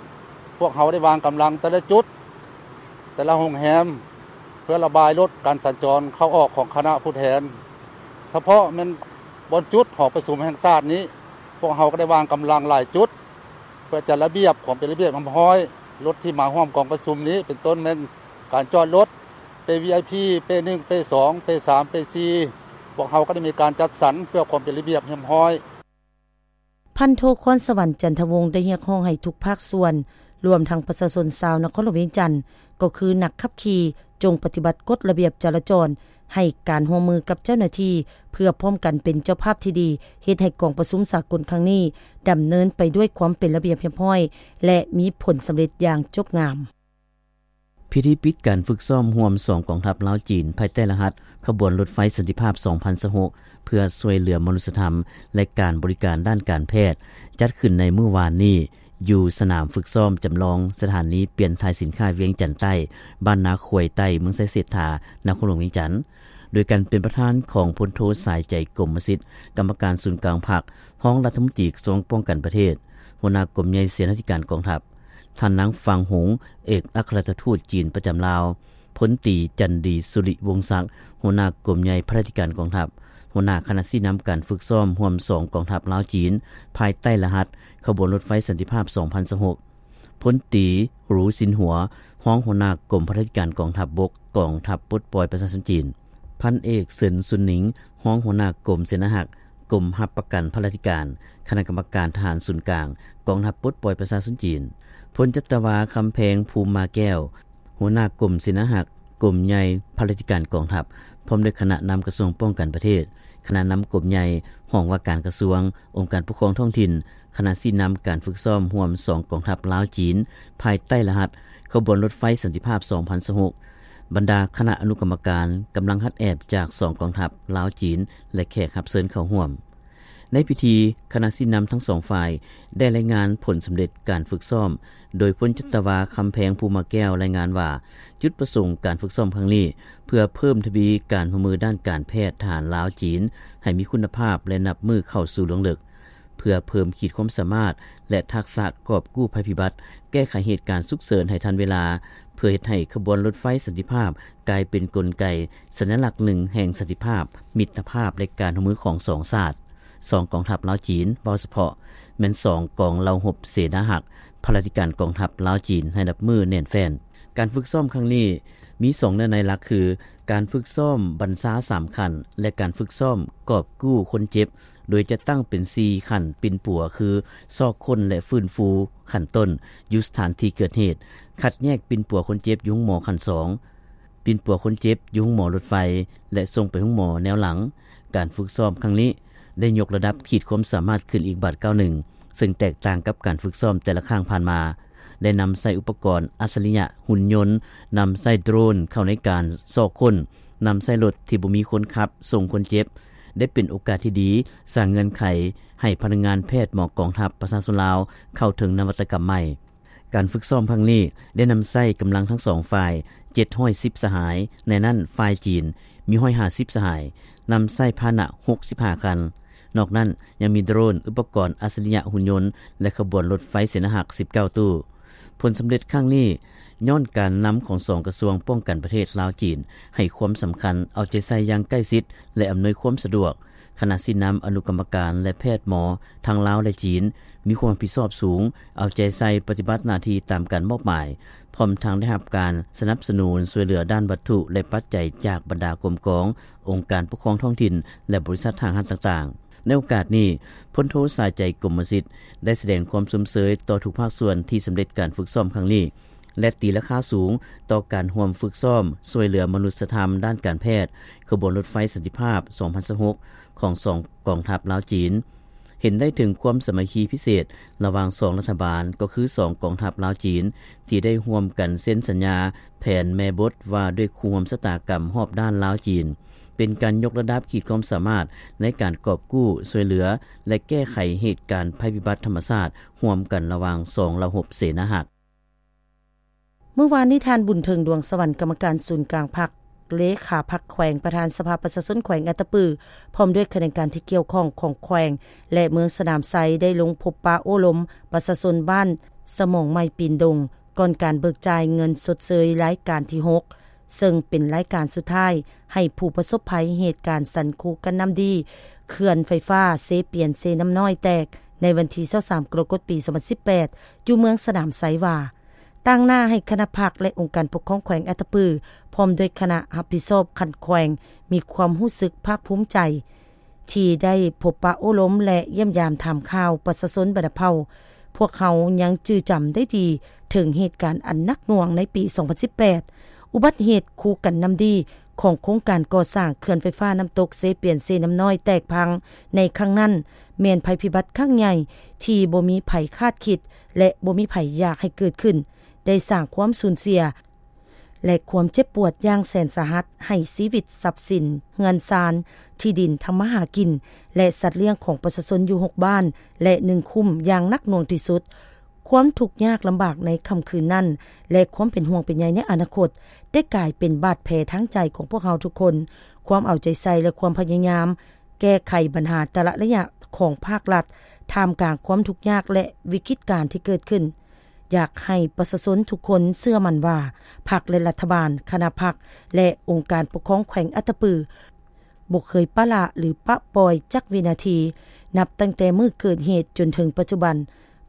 ພວກເຮົາໄດ້ວາງກຳລັງແຕ່ລະຈຸດ, ແຕ່ລະໂຮງແຮມ ເພື່ອລະບາຍລົດການສັນຈອນເຂົ້າອອກຂອງຄະນະຜູ້ແທນ. ສະເພາະແມ່ນບ່ອນຈຸດຫໍປະຊຸມແຫ່ງຊາດນີ້, ພວກເຮົາກໍໄດ້ວາງກຳລັງຫຼາຍຈຸດ ເພື່ອຈັດລະບຽບຄວາມເປັນລະບຽບຮຽບຮ້ອຍລົດທີ່ມາຮ່ວມກອງປະຊຸມນີ້, ເປັນຕົ້ນແມ່ນການຈອດລົດ ເປ້ ວີໄອພີ ເປ້ໜຶ່ງ ເປ້ສອງ ເປ້ສາມ ເປ້ສີ່ ພວກເຮົາກໍໄດ້ມີການຈັດສັນເພື່ອຄວາມເປັນລະບຽບຮຽບຮ້ອຍ. ພັນໂທ ຄອນສະຫວັນ ຈັນທະວົງ ໄດ້ຮຽກຮ້ອງໃຫ້ທຸກພາກສ່ວນ, ລວມທັງປະຊາຊົນຊາວນະຄອນຫຼວງວຽງຈັນ, ກໍຄືນັກຂັບຂີ່, ຈົ່ງປະຕິບັດກົດລະບຽບຈະລາຈອນ, ໃຫ້ການຮ່ວມມືກັບເຈົ້າໜ້າທີ່ ເພື່ອພ້ອມກັນເປັນເຈົ້າພາບທີ່ດີ, ເຮັດໃຫ້ກອງປະຊຸມສາກົນຄັ້ງນີ້ ດຳເນີນໄປດ້ວຍຄວາມເປັນລະບຽບຮຽບຮ້ອຍ ແລະ ມີຜົນສຳເລັດຢ່າງຈົບງາມ. ພິທີປິດການຝຶກຊ້ອມຮ່ວມສອງກອງທັບລາວ-ຈີນ ພາຍໃຕ້ລະຫັດຂະບວນລົດໄຟສັນຕິພາບສອງພັນຊາວຫົກ ເພື່ອຊ່ວຍເຫຼືອມະນຸດສະທຳ ແລະ ການບໍລິການດ້ານການແພດ ຈັດຂຶ້ນໃນມື້ວານນີ້ ຢູ່ສະໜາມຝຶກຊ້ອມຈຳລອງສະຖານີປ່ຽນຖ່າຍສິນຄ້າວຽງຈັນໃຕ້, ບ້ານນາຄວາຍໃຕ້, ເມືອງໄຊເສດຖາ, ນະຄອນຫຼວງວຽງຈັນ, ໂດຍການເປັນປະທານຂອງ ພົນໂທ ສາຍໃຈ ກົມມະສິດ, ກຳມະການສູນກາງພັກ, ຮອງລັດຖະມົນຕີກະຊວງປ້ອງກັນປະເທດ, ຫົ ຫົວໜ້າກົມໃຫຍ່ເສນາທິການກອງທັບ, ທ່ານນາງ ຟາງ ຫົງ ເອກອັກຄະລັດທູດຈີນປະຈຳລາວ, ພົນຕີ ຈັນດີ ສຸລິວົງສັກ ຫົວໜ້າກົມໃຫຍ່ພະລາທິການກອງທັບ, ຫົວໜ້າຄະນະຊີ້ນຳການຝຶກຊ້ອມຮ່ວມສອງກອງທັບລາວ-ຈີນ ພາຍໃຕ້ລະຫັດຂະບວນລົດໄຟສັນຕິພາບສອງພັນຊາວຫົກ, ພົນຕີ ຫຣູ ຊິນຫົວ ຮອງຫົວໜ້າກົມພະລາທິການກອງທັບບົກ ກອງທັບປົດປ່ອຍປະຊາຊົນຈີນ, ພັນເອກ ເສີນ ຊຸນໜິງ ຮອງຫົວໜ້າກົມເສນາຮັກ ກົມຮັບປະກັນພະລາທິການ ຄະນະກຳມະການທະຫານສູນກາງ ກອງທັບປົດປ່ອຍປະຊາຊົນຈີນ, ພົນຈັດຕະວາ ຄຳແພງ ພູມມາແກ້ວ ຫົວໜ້າກົມເສນາຮັກ ກົມໃຫຍ່ພະລາທິການກອງທັບ ພ້ອມດ້ວຍຄະນະນຳກະຊວງປ້ອງກັນປະເທດ, ຄະນະນຳກົມໃຫຍ່, ຫ້ອງວ່າການກະຊວງ, ອົງການປົກຄອງທ້ອງຖິ່ນ, ຄະນະຊີ້ນຳການຝຶກຊ້ອມຮ່ວມສອງກອງທັບລາວ-ຈີນ ພາຍໃຕ້ລະຫັດຂະບວນລົດໄຟສັນຕິພາບສອງພັນຊາວຫົກ, ບັນດາຄະນະອະນຸກຳມະການ, ກຳລັງຮັດແອບຈາກສອງກອງທັບລາວ-ຈີນ ແລະ ແຂກຮັບເຊີນເຂົ້າຮ່ວມ. ໃນພິທີ, ຄະນະຊີ້ນຳທັງສອງຝ່າຍໄດ້ລາຍງານຜົນສຳເລັດການຝຶກຊ້ອມ, ໂດຍພົນຈັດຕະວາ ຄຳແພງ ພູມມາແກ້ວ ລາຍງານວ່າ ຈຸດປະສົງການຝຶກຊ້ອມຄັ້ງນີ້ ເພື່ອເພີ່ມທະວີການຮ່ວມມືດ້ານການແພດທະຫານລາວ-ຈີນ ໃຫ້ມີຄຸນນະພາບ ແລະ ນັບມື້ເຂົ້າສູ່ລວງເລິກ, ເພື່ອເພີ່ມຂີດຄວາມສາມາດ ແລະ ທັກສະກອບກູ້ໄພພິບັດ, ແກ້ໄຂເຫດການສຸກເສີນໃຫ້ທັນເວລາ, ເພື່ອເຮັດໃຫ້ຂະບວນລົດໄຟສັນຕິພາບກາຍເປັນກົນໄກສັນຍະລັກໜຶ່ງແຫ່ງສັນຕິພາບ, ມິດຕະພາບ ແລະ ການຮ່ວມມືຂອງສອງຊາດ, ສອງກອງທັບລາວ-ຈີນ ເວົ້າສະເພາະ ແມ່ນສອງກອງເຫຼົ່າຮົບເສນາຮັກ ພະລາທິການກອງທັບລາວ-ຈີນ ໃຫ້ນັບມື້ແໜ້ນແຟ້ນ. ການຝຶກຊ້ອມຄັ້ງນີ້ມີສອງເນື້ອໃນຫຼັກຄື ການຝຶກຊ້ອມບັນຊາສາມຂັ້ນ ແລະ ການຝຶກຊ້ອມກອບກູ້ຄົນເຈັບ ໂດຍຈັດຕັ້ງເປັນສີ່ຂັ້ນປິ່ນປົວຄື ຊອກຄົ້ນ ແລະ ຟື້ນຟູຂັ້ນຕົ້ນຢູ່ສະຖານທີ່ເກີດເຫດ, ຄັດແຍກປິ່ນປົວຄົນເຈັບຢູ່ໂຮງໝໍຂັ້ນສອງ, ປິ່ນປົວຄົນເຈັບຢູ່ໂຮງໝໍລົດໄຟ ແລະ ສົ່ງໄປໂຮງໝໍແນວຫຼັງ. ການຝຶກຊ້ອມຄັ້ງນີ້ໄດ້ຍົກລະດັບຂີດຄວາມສາມາດຂຶ້ນອີກບາດກ້າວໜຶ່ງ, ເຊິ່ງແຕກຕ່າງກັບການຝຶກຊ້ອມແຕ່ລະຄັ້ງຜ່ານມາ ແລະ ນຳໃຊ້ອຸປະກອນອັດສະລິຍະ, ຫຸ່ນຍົນ, ນຳໃຊ້ໂດຣນເຂົ້າໃນການຊອກຄົ້ນ, ນຳໃຊ້ລົດທີ່ບໍ່ມີຄົນຂັບສົ່ງຄົນເຈັບ, ໄດ້ເປັນໂອກາດທີ່ດີ ສ້າງເງື່ອນໄຂໃຫ້ພະນັກງານແພດໝໍກອງທັບປະຊາຊົນລາວເຂົ້າເຖິງນະວັດຕະກຳໃໝ່. ການຝຶກຊ້ອມຄັ້ງນີ້ໄດ້ນຳໃຊ້ກຳລັງທັງສອງຝ່າຍເຈັດຮ້ອຍສິບສະຫາຍ, ໃນນັ້ນຝ່າຍຈີນມີຮ້ອຍຫ້າສິບສະຫາຍ, ນຳໃຊ້ພາຫະນະຫົກສິບຫ້າຄັນ. ນອກນັ້ນຍັງມີໂດຣນ, ອຸປະກອນອັດສະລິຍະ, ຫຸ່ນຍົນ ແລະ ຂະບວນລົດໄຟເສນາຮັກສິບເກົ້າຕູ້. ຜົນສຳເລັດຄັ້ງນີ້ຍ້ອນການນຳຂອງສອງກະຊວງປ້ອງກັນປະເທດລາວ-ຈີນ ໃຫ້ຄວາມສຳຄັນ, ເອົາໃຈໃສ່ຢ່າງໃກ້ຊິດ ແລະ ອຳນວຍຄວາມສະດວກ. ຄະນະຊີ້ນຳ, ອະນຸກຳມະການ ແລະ ແພດໝໍທັງລາວ ແລະ ຈີນ ມີຄວາມຮັບຜິດຊອບສູງ, ເອົາໃຈໃສ່ປະຕິບັດໜ້າທີ່ຕາມການມອບໝາຍ, ພ້ອມທັງໄດ້ຮັບການສະໜັບສະໜູນຊ່ວຍເຫຼືອດ້ານວັດຖຸ ແລະ ປັດໄຈຈາກບັນດາກົມກອງ, ອົງການປົກຄອງທ້ອງຖິ່ນ ແລະ ບໍລິສັດຫ້າງຮ້ານຕ່າງໆ. ໃນໂອກາດນີ້, ພົນໂທ ສາຍໃຈ ກົມມະສິດ ໄດ້ສະແດງຄວາມຊົມເຊີຍຕໍ່ທຸກພາກສ່ວນທີ່ສຳເລັດການຝຶກຊ້ອມຄັ້ງນີ້ ແລະ ຕີລາຄາສູງຕໍ່ການຮ່ວມຝຶກຊ້ອມຊ່ວຍເຫຼືອມະນຸດສະທຳດ້ານການແພດ ຂະບວນລົດໄຟສັນຕິພາບສອງພັນຊາວຫົກ ຂອງສອງກອງທັບລາວ-ຈີນ. ເຫັນໄດ້ເຖິງຄວາມສາມັກຄີພິເສດລະຫວ່າງສອງລັດຖະບານ, ກໍຄືສອງກອງທັບລາວ-ຈີນ ທີ່ໄດ້ຮ່ວມກັນເຊັນສັນຍາແຜນແມ່ບົດວ່າດ້ວຍຄູ່ຮ່ວມຊະຕາກຳຮອບດ້ານລາວ-ຈີນ, ເປັນການຍົກລະດັບຂີດຄວາມສາມາດໃນການກອບກູ້, ຊ່ວຍເຫຼືອ ແລະ ແກ້ໄຂເຫດການໄພພິບັດທຳມະຊາດຮ່ວມກັນລະຫວ່າງສອງເຫຼົ່າຮົບເສນາຮັກ. ມື້ວານນີ້ ທ່ານ ບຸນເຖິງ ດວງສະຫວັນ ກຳມະການສູນກາງພັກ, ເລຂາພັກແຂວງ, ປະທານສະພາປະຊາຊົນແຂວງອັດຕະປື ພ້ອມດ້ວຍຂະແໜງການທີ່ກ່ຽວຂ້ອງຂອງແຂວງ ແລະ ເມືອງສະໜາມໄຊ ໄດ້ລົງພົບປະໂອ້ລົມປະຊາຊົນບ້ານສະໝອງໃໝ່ ປີນດົງ ກ່ອນການເບີກຈ່າຍເງິນຊົດເຊີຍລາຍການທີຫົກ ເຊິ່ງເປັນລາຍການສຸດທ້າຍໃຫ້ຜູ້ປະສົບໄພເຫດການສັນຄູກັນນ້ຳດີ ເຂື່ອນໄຟຟ້າເຊປຽນ-ເຊນ້ຳນ້ອຍແຕກ ໃນວັນທີຊາວສາມ ກໍລະກົດ ປີສອງພັນສິບແປດ ຢູ່ເມືອງສະໜາມໄຊວ່າ ຕາງໜ້າໃຫ້ຄະນະພັກ ແລະ ອົງການປົກຄອງແຂວງອັດຕະປື ພ້ອມດ້ວຍຄະນະຮັບຜິດຊອບຂັ້ນແຂວງ ມີຄວາມຮູ້ສຶກພາກພູມໃຈ ທີ່ໄດ້ພົບປະໂອ້ລົມ ແລະ ຢ້ຽມຢາມຖາມຂ່າວປະຊາຊົນບັນດາເຜົ່າ. ພວກເຮົາຍັງຈື່ຈຳໄດ້ດີເຖິງເຫດການອັນໜັກໜ່ວງໃນປີສອງພັນສິບແປດ ອຸບັດເຫດຄູກັນນ້ຳດີຂອງໂຄງການກໍ່ສ້າງເຂື່ອນໄຟຟ້ານ້ຳຕົກເຊປຽນ-ເຊນ້ຳນ້ອຍແຕກພັງໃນຄັ້ງນັ້ນ ແມ່ນໄພພິບັດຄັ້ງໃຫຍ່ທີ່ບໍ່ມີໃຜຄາດຄິດ ແລະ ບໍ່ມີໃຜຢາກໃຫ້ເກີດຂຶ້ນ, ໄດ້ສ້າງຄວາມສູນເສຍ ແລະ ຄວາມເຈັບປວດຢ່າງແສນສາຫັດໃຫ້ຊີວິດ, ຊັບສິນ, ເຮືອນຊານ, ທີ່ດິນທຳມາຫາກິນ ແລະ ສັດລ້ຽງຂອງປະຊາຊົນຢູ່ຫົກບ້ານ ແລະ ໜຶ່ງຄຸ້ມຢ່າງໜັກໜ່ວງທີ່ສຸດ. ຄວາມທຸກຍາກລຳບາກໃນຄ່ຳຄືນນັ້ນ ແລະ ຄວາມເປັນຫ່ວງເປັນໃຍໃນອະນາຄົດ ໄດ້ກາຍເປັນບາດແຜທາງໃຈຂອງພວກເຮົາທຸກຄົນ. ຄວາມເອົາໃຈໃສ່ ແລະ ຄວາມພະຍາຍາມ ແກ້ໄຂບັນຫາແຕ່ລະໄລຍະຂອງພາກລັດ ທ່າມກາງຄວາມທຸກຍາກ ແລະ ວິກິດການທີ່ເກີດຂຶ້ນ. ຢາກໃຫ້ປະຊາຊົນທຸກຄົນເຊື່ອໝັ້ນວ່າ ພັກ ແລະ ລັດຖະບານ, ຄະນະພັກ ແລະ ອົງການປົກຄອງແຂວງອັດຕະປື ບໍ່ເຄີຍປະລະ ຫຼື ປະປ່ອຍຈັກວິນາທີ. ນັບຕັ້ງແຕ່ມື້ເກີດເຫດຈົນເຖິງປັດຈຸບັນ,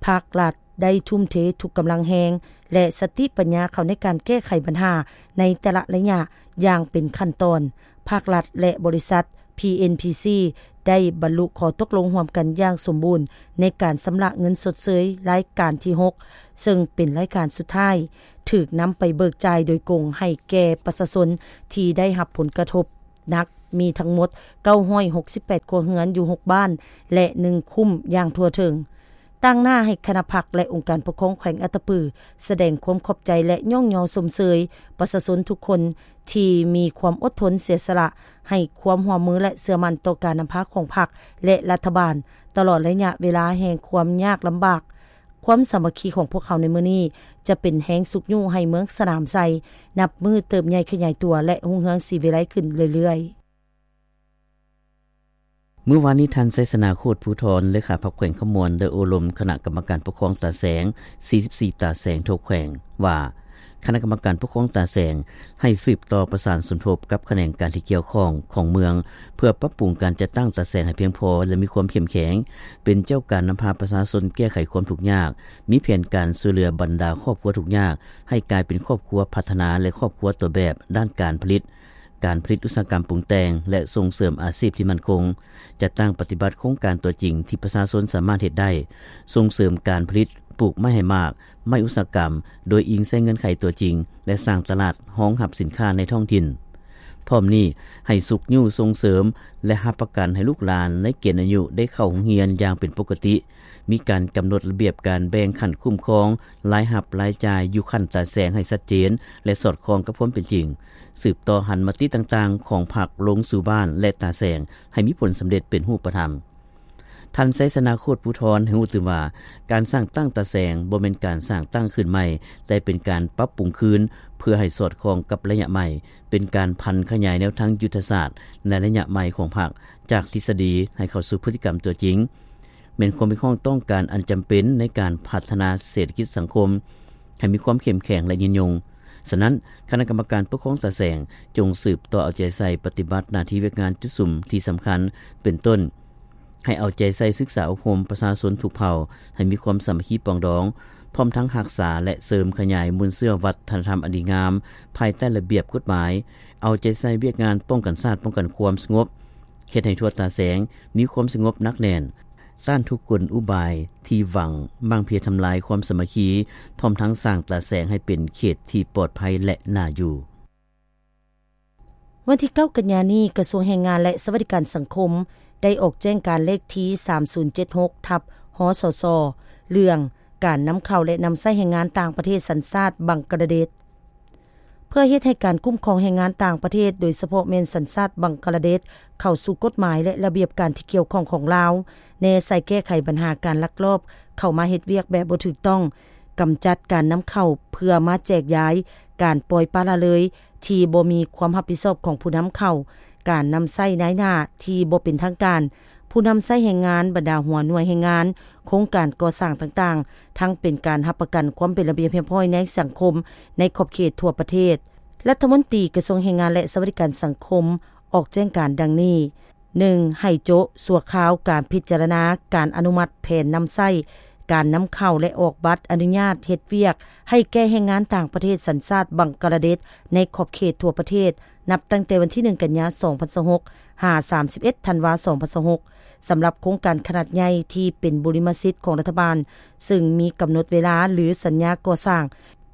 ພາກລັດໄດ້ທຸ່ມເທທຸກກຳລັງແຮງ ແລະ ສະຕິປັນຍາເຂົ້າໃນການແກ້ໄຂບັນຫາໃນແຕ່ລະໄລຍະຢ່າງເປັນຂັ້ນຕອນ. ພາກລັດ ແລະ ບໍລິສັດ ພີເອັນພີຊີ ໄດ້ບັນລຸຂໍ້ຕົກລົງຮ່ວມກັນຢ່າງສົມບູນໃນການຊຳລະເງິນຊົດເຊີຍລາຍການທີຫົກ ເຊິ່ງເປັນລາຍການສຸດທ້າຍ ຖືກນຳໄປເບີກຈ່າຍໂດຍກົງໃຫ້ແກ່ປະຊາຊົນທີ່ໄດ້ຮັບຜົນກະທົບໜັກ ມີທັງໝົດເກົ້າຮ້ອຍຫົກສິບແປດຄົວເຮືອນຢູ່ຫົກບ້ານ ແລະ ໜຶ່ງຄຸ້ມຢ່າງທົ່ວເຖິງ. ຕາງໜ້າໃຫ້ຄະນະພັກ ແລະ ອົງການປົກຄອງແຂວງອັດຕະປື ສະແດງຄວາມຂອບໃຈ ແລະ ຍ້ອງຍໍຊົມເຊີຍປະຊາຊົນທຸກຄົນທີ່ມີຄວາມອົດທົນເສຍສະຫຼະ ໃຫ້ຄວາມຮ່ວມມື ແລະ ເຊື່ອໝັ້ນຕໍ່ການນຳພາຂອງພັກ ແລະ ລັດຖະບານ ຕະຫຼອດໄລຍະເວລາແຫ່ງຄວາມຍາກລຳບາກ. ຄວາມສາມັກຄີຂອງພວກເຮົາໃນມື້ນີ້ ຈະເປັນແຮງຊຸກຍູ້ໃຫ້ເມືອງສະໜາມໄຊ ນັບມື້ເຕີບໃຫຍ່ຂະຫຍາຍຕົວ ແລະ ຮຸ່ງເຮືອງສີວິໄລຂຶ້ນເລື້ອຍໆ. ມື້ວານນີ້ ທ່ານ ໄຊຊະນາ ໂຄດພູທອນ ເລຂາພັກແຂວງຄຳມ່ວນ ໄດ້ໂອ້ລົມຄະນະກຳມະການປົກຄອງຕາແສງ ສີ່ສິບສີ່ຕາແສງທົ່ວແຂວງວ່າ ຄະນະກຳມະການປົກຄອງຕາແສງໃຫ້ສືບຕໍ່ປະສານສົມທົບກັບຂະແໜງການທີ່ກ່ຽວຂ້ອງຂອງເມືອງ ເພື່ອປັບປຸງການຈັດຕັ້ງຕາແສງໃຫ້ພຽງພໍ ແລະ ມີຄວາມເຂັ້ມແຂງ ເປັນເຈົ້າການນຳພາປະຊາຊົນແກ້ໄຂຄວາມທຸກຍາກ, ມີແຜນການຊ່ວຍເຫຼືອບັນດາຄອບຄົວທຸກຍາກ ໃຫ້ກາຍເປັນຄອບຄົວພັດທະນາ ແລະ ຄອບຄົວຕົ້ນແບບດ້ານການຜະລິດ, ການຜະລິດອຸດສາຫະກຳປຸງແຕ່ງ ແລະ ສົ່ງເສີມອາຊີບທີ່ໝັ້ນຄົງ, ຈັດຕັ້ງປະຕິບັດໂຄງການຕົວຈິງທີ່ປະຊາຊົນສາມາດເຮັດໄດ້, ສົ່ງເສີມການຜະລິດປູກໄມ້ໃຫ້ໝາກ, ໄມ້ອຸດສາຫະກຳ ໂດຍອີງໃສ່ເງື່ອນໄຂຕົວຈິງ ແລະ ສ້າງຕະຫຼາດຮອງຮັບສິນຄ້າໃນທ້ອງຖິ່ນ. ພ້ອມນີ້, ໃຫ້ຊຸກຍູ້ສົ່ງເສີມ ແລະ ຮັບປະກັນໃຫ້ລູກຫຼານໃນເກນອາຍຸໄດ້ເຂົ້າໂຮງຮຽນຢ່າງເປັນປົກກະຕິ, ມີການກຳນົດລະບຽບການແບ່ງຂັ້ນຄຸ້ມຄອງລາຍຮັບລາຍຈ່າຍຢູ່ຂັ້ນຕາແສງໃຫ້ຊັດເຈນ ແລະ ສອດຄ່ອງກັບຄວາມເປັນຈິງ, ສືບຕໍ່ຫັນມະຕິຕ່າງໆຂອງພັກລົງສູ່ບ້ານ ແລະ ຕາແສງໃຫ້ມີຜົນສຳເລັດເປັນຮູບປະທຳ. ທ່ານ ໄຊຊະນາ ໂຄດພູທອນ ໃຫ້ຮູ້ຕື່ມວ່າ ການສ້າງຕັ້ງຕາແສງບໍ່ແມ່ນການສ້າງຕັ້ງຂຶ້ນໃໝ່, ແຕ່ເປັນການປັບປຸງຄືນເພື່ອໃຫ້ສອດຄ່ອງກັບໄລຍະໃໝ່, ເປັນການຜັນຂະຫຍາຍແນວທາງຍຸດທະສາດໃນໄລຍະໃໝ່ຂອງພັກ ຈາກທິດສະດີໃຫ້ເຂົ້າສູ່ພຶດຕິກຳຕົວຈິງ, ແມ່ນຄວາມຮຽກຮ້ອງຕ້ອງການອັນຈຳເປັນໃນການພັດທະນາເສດຖະກິດສັງຄົມໃຫ້ມີຄວາມເຂັ້ມແຂງ ແລະ ຍືນຍົງ. ສະນັ້ນ, ຄະນະກຳມະການປົກຄອງຕາແສງ ຈົ່ງສືບຕໍ່ເອົາໃຈໃສ່ປະຕິບັດໜ້າທີ່ວຽກງານຈຸດສຸມທີ່ສຳຄັນ ເປັນຕົ້ນ ໃຫ້ເອົາໃຈໃສ່ສຶກສາອົບຮົມປະຊາຊົນທຸກເຜົ່າໃຫ້ມີຄວາມສາມັກຄີປອງດອງ, ພ້ອມທັງຮັກສາ ແລະ ເສີມຂະຫຍາຍມູນເຊື້ອວັດທະນະທຳອັນດີງາມ ພາຍໃຕ້ລະບຽບກົດໝາຍ, ເອົາໃຈໃສ່ວຽກງານປ້ອງກັນຊາດ, ປ້ອງກັນຄວາມສະຫງົບ, ເຮັດໃຫ້ທົ່ວຕາແສງມີຄວາມສະຫງົບໜັກແໜ້ນ, ຕ້ານທຸກກົນອຸບາຍທີ່ຫວັງໝັ້ງເພຍທຳລາຍຄວາມສາມັກຄີ, ພ້ອມທັງສ້າງຕາແສງໃຫ້ເປັນເຂດທີ່ປອດໄພ ແລະ ໜ້າຢູ່. ວັນທີເກົ້າກັນຍານີ້, ກະຊວງແຮງງານ ແລະ ສະຫວັດດີການສັງຄົມ ໄດ້ອອກແຈ້ງການເລກທີສາມສູນເຈັດຫົກ ທັບ ຮສສ ເລື່ອງການນຳເຂົ້າ ແລະ ນຳໃຊ້ແຮງງານຕ່າງປະເທດສັນຊາດບັງກາລາເດດ ເພື່ອເຮັດໃຫ້ການຄຸ້ມຄອງແຮງງານຕ່າງປະເທດ, ໂດຍສະເພາະແມ່ນສັນຊາດບັງກາລາເດດ, ເຂົ້າສູ່ກົດໝາຍ ແລະ ລະບຽບການທີ່ກ່ຽວຂ້ອງຂອງລາວ, ແນໃສ່ແກ້ໄຂບັນຫາການລັກລອບເຂົ້າມາເຮັດວຽກແບບບໍ່ຖືກຕ້ອງ, ກຳຈັດການນຳເຂົ້າເພື່ອມາແຈກຢາຍ, ການປ່ອຍປະລະເລີຍ ທີ່ບໍ່ມີຄວາມຮັບຜິດຊອບຂອງຜູ້ນຳເຂົ້າ, ການນຳໃຊ້ນາຍໜ້າທີ່ບໍ່ເປັນທາງການ, ຜູ້ນຳໃຊ້ແຮງງານ, ບັນດາຫົວໜ່ວຍແຮງງານ, ໂຄງການກໍ່ສ້າງຕ່າງໆ, ທັງເປັນການຮັບປະກັນຄວາມເປັນລະບຽບຮຽບຮ້ອຍໃນສັງຄົມໃນຂອບເຂດທົ່ວປະເທດ. ລັດຖະມົນຕີກະຊວງແຮງງານ ແລະ ສະຫວັດດີການສັງຄົມ ອອກແຈ້ງການດັ່ງນີ້. ໜຶ່ງ ໃຫ້ໂຈະຊົ່ວຄາວການພິຈາລະນາການອະນຸມັດແຜນນຳໃຊ້ການນຳເຂົ້າ ແລະ ອອກບັດອະນຸຍາດເຮັດວຽກໃຫ້ແກ່ແຮງງານຕ່າງປະເທດສັນຊາດບັງກາລາເດດໃນຂອບເຂດທົ່ວປະເທດ ນັບຕັ້ງແຕ່ວັນທີໜຶ່ງກັນຍາ ສອງພັນຊາວຫົກ ຫາ ສາມສິບເອັດ ທັນວາ ສອງພັນຊາວຫົກ ສຳລັບໂຄງການຂະໜາດໃຫຍ່ທີ່ເປັນບຸລິມະສິດຂອງລັດຖະບານ ເຊິ່ງມີກຳນົດເວລາ ຫຼື ສັນຍາກໍ່ສ້າງ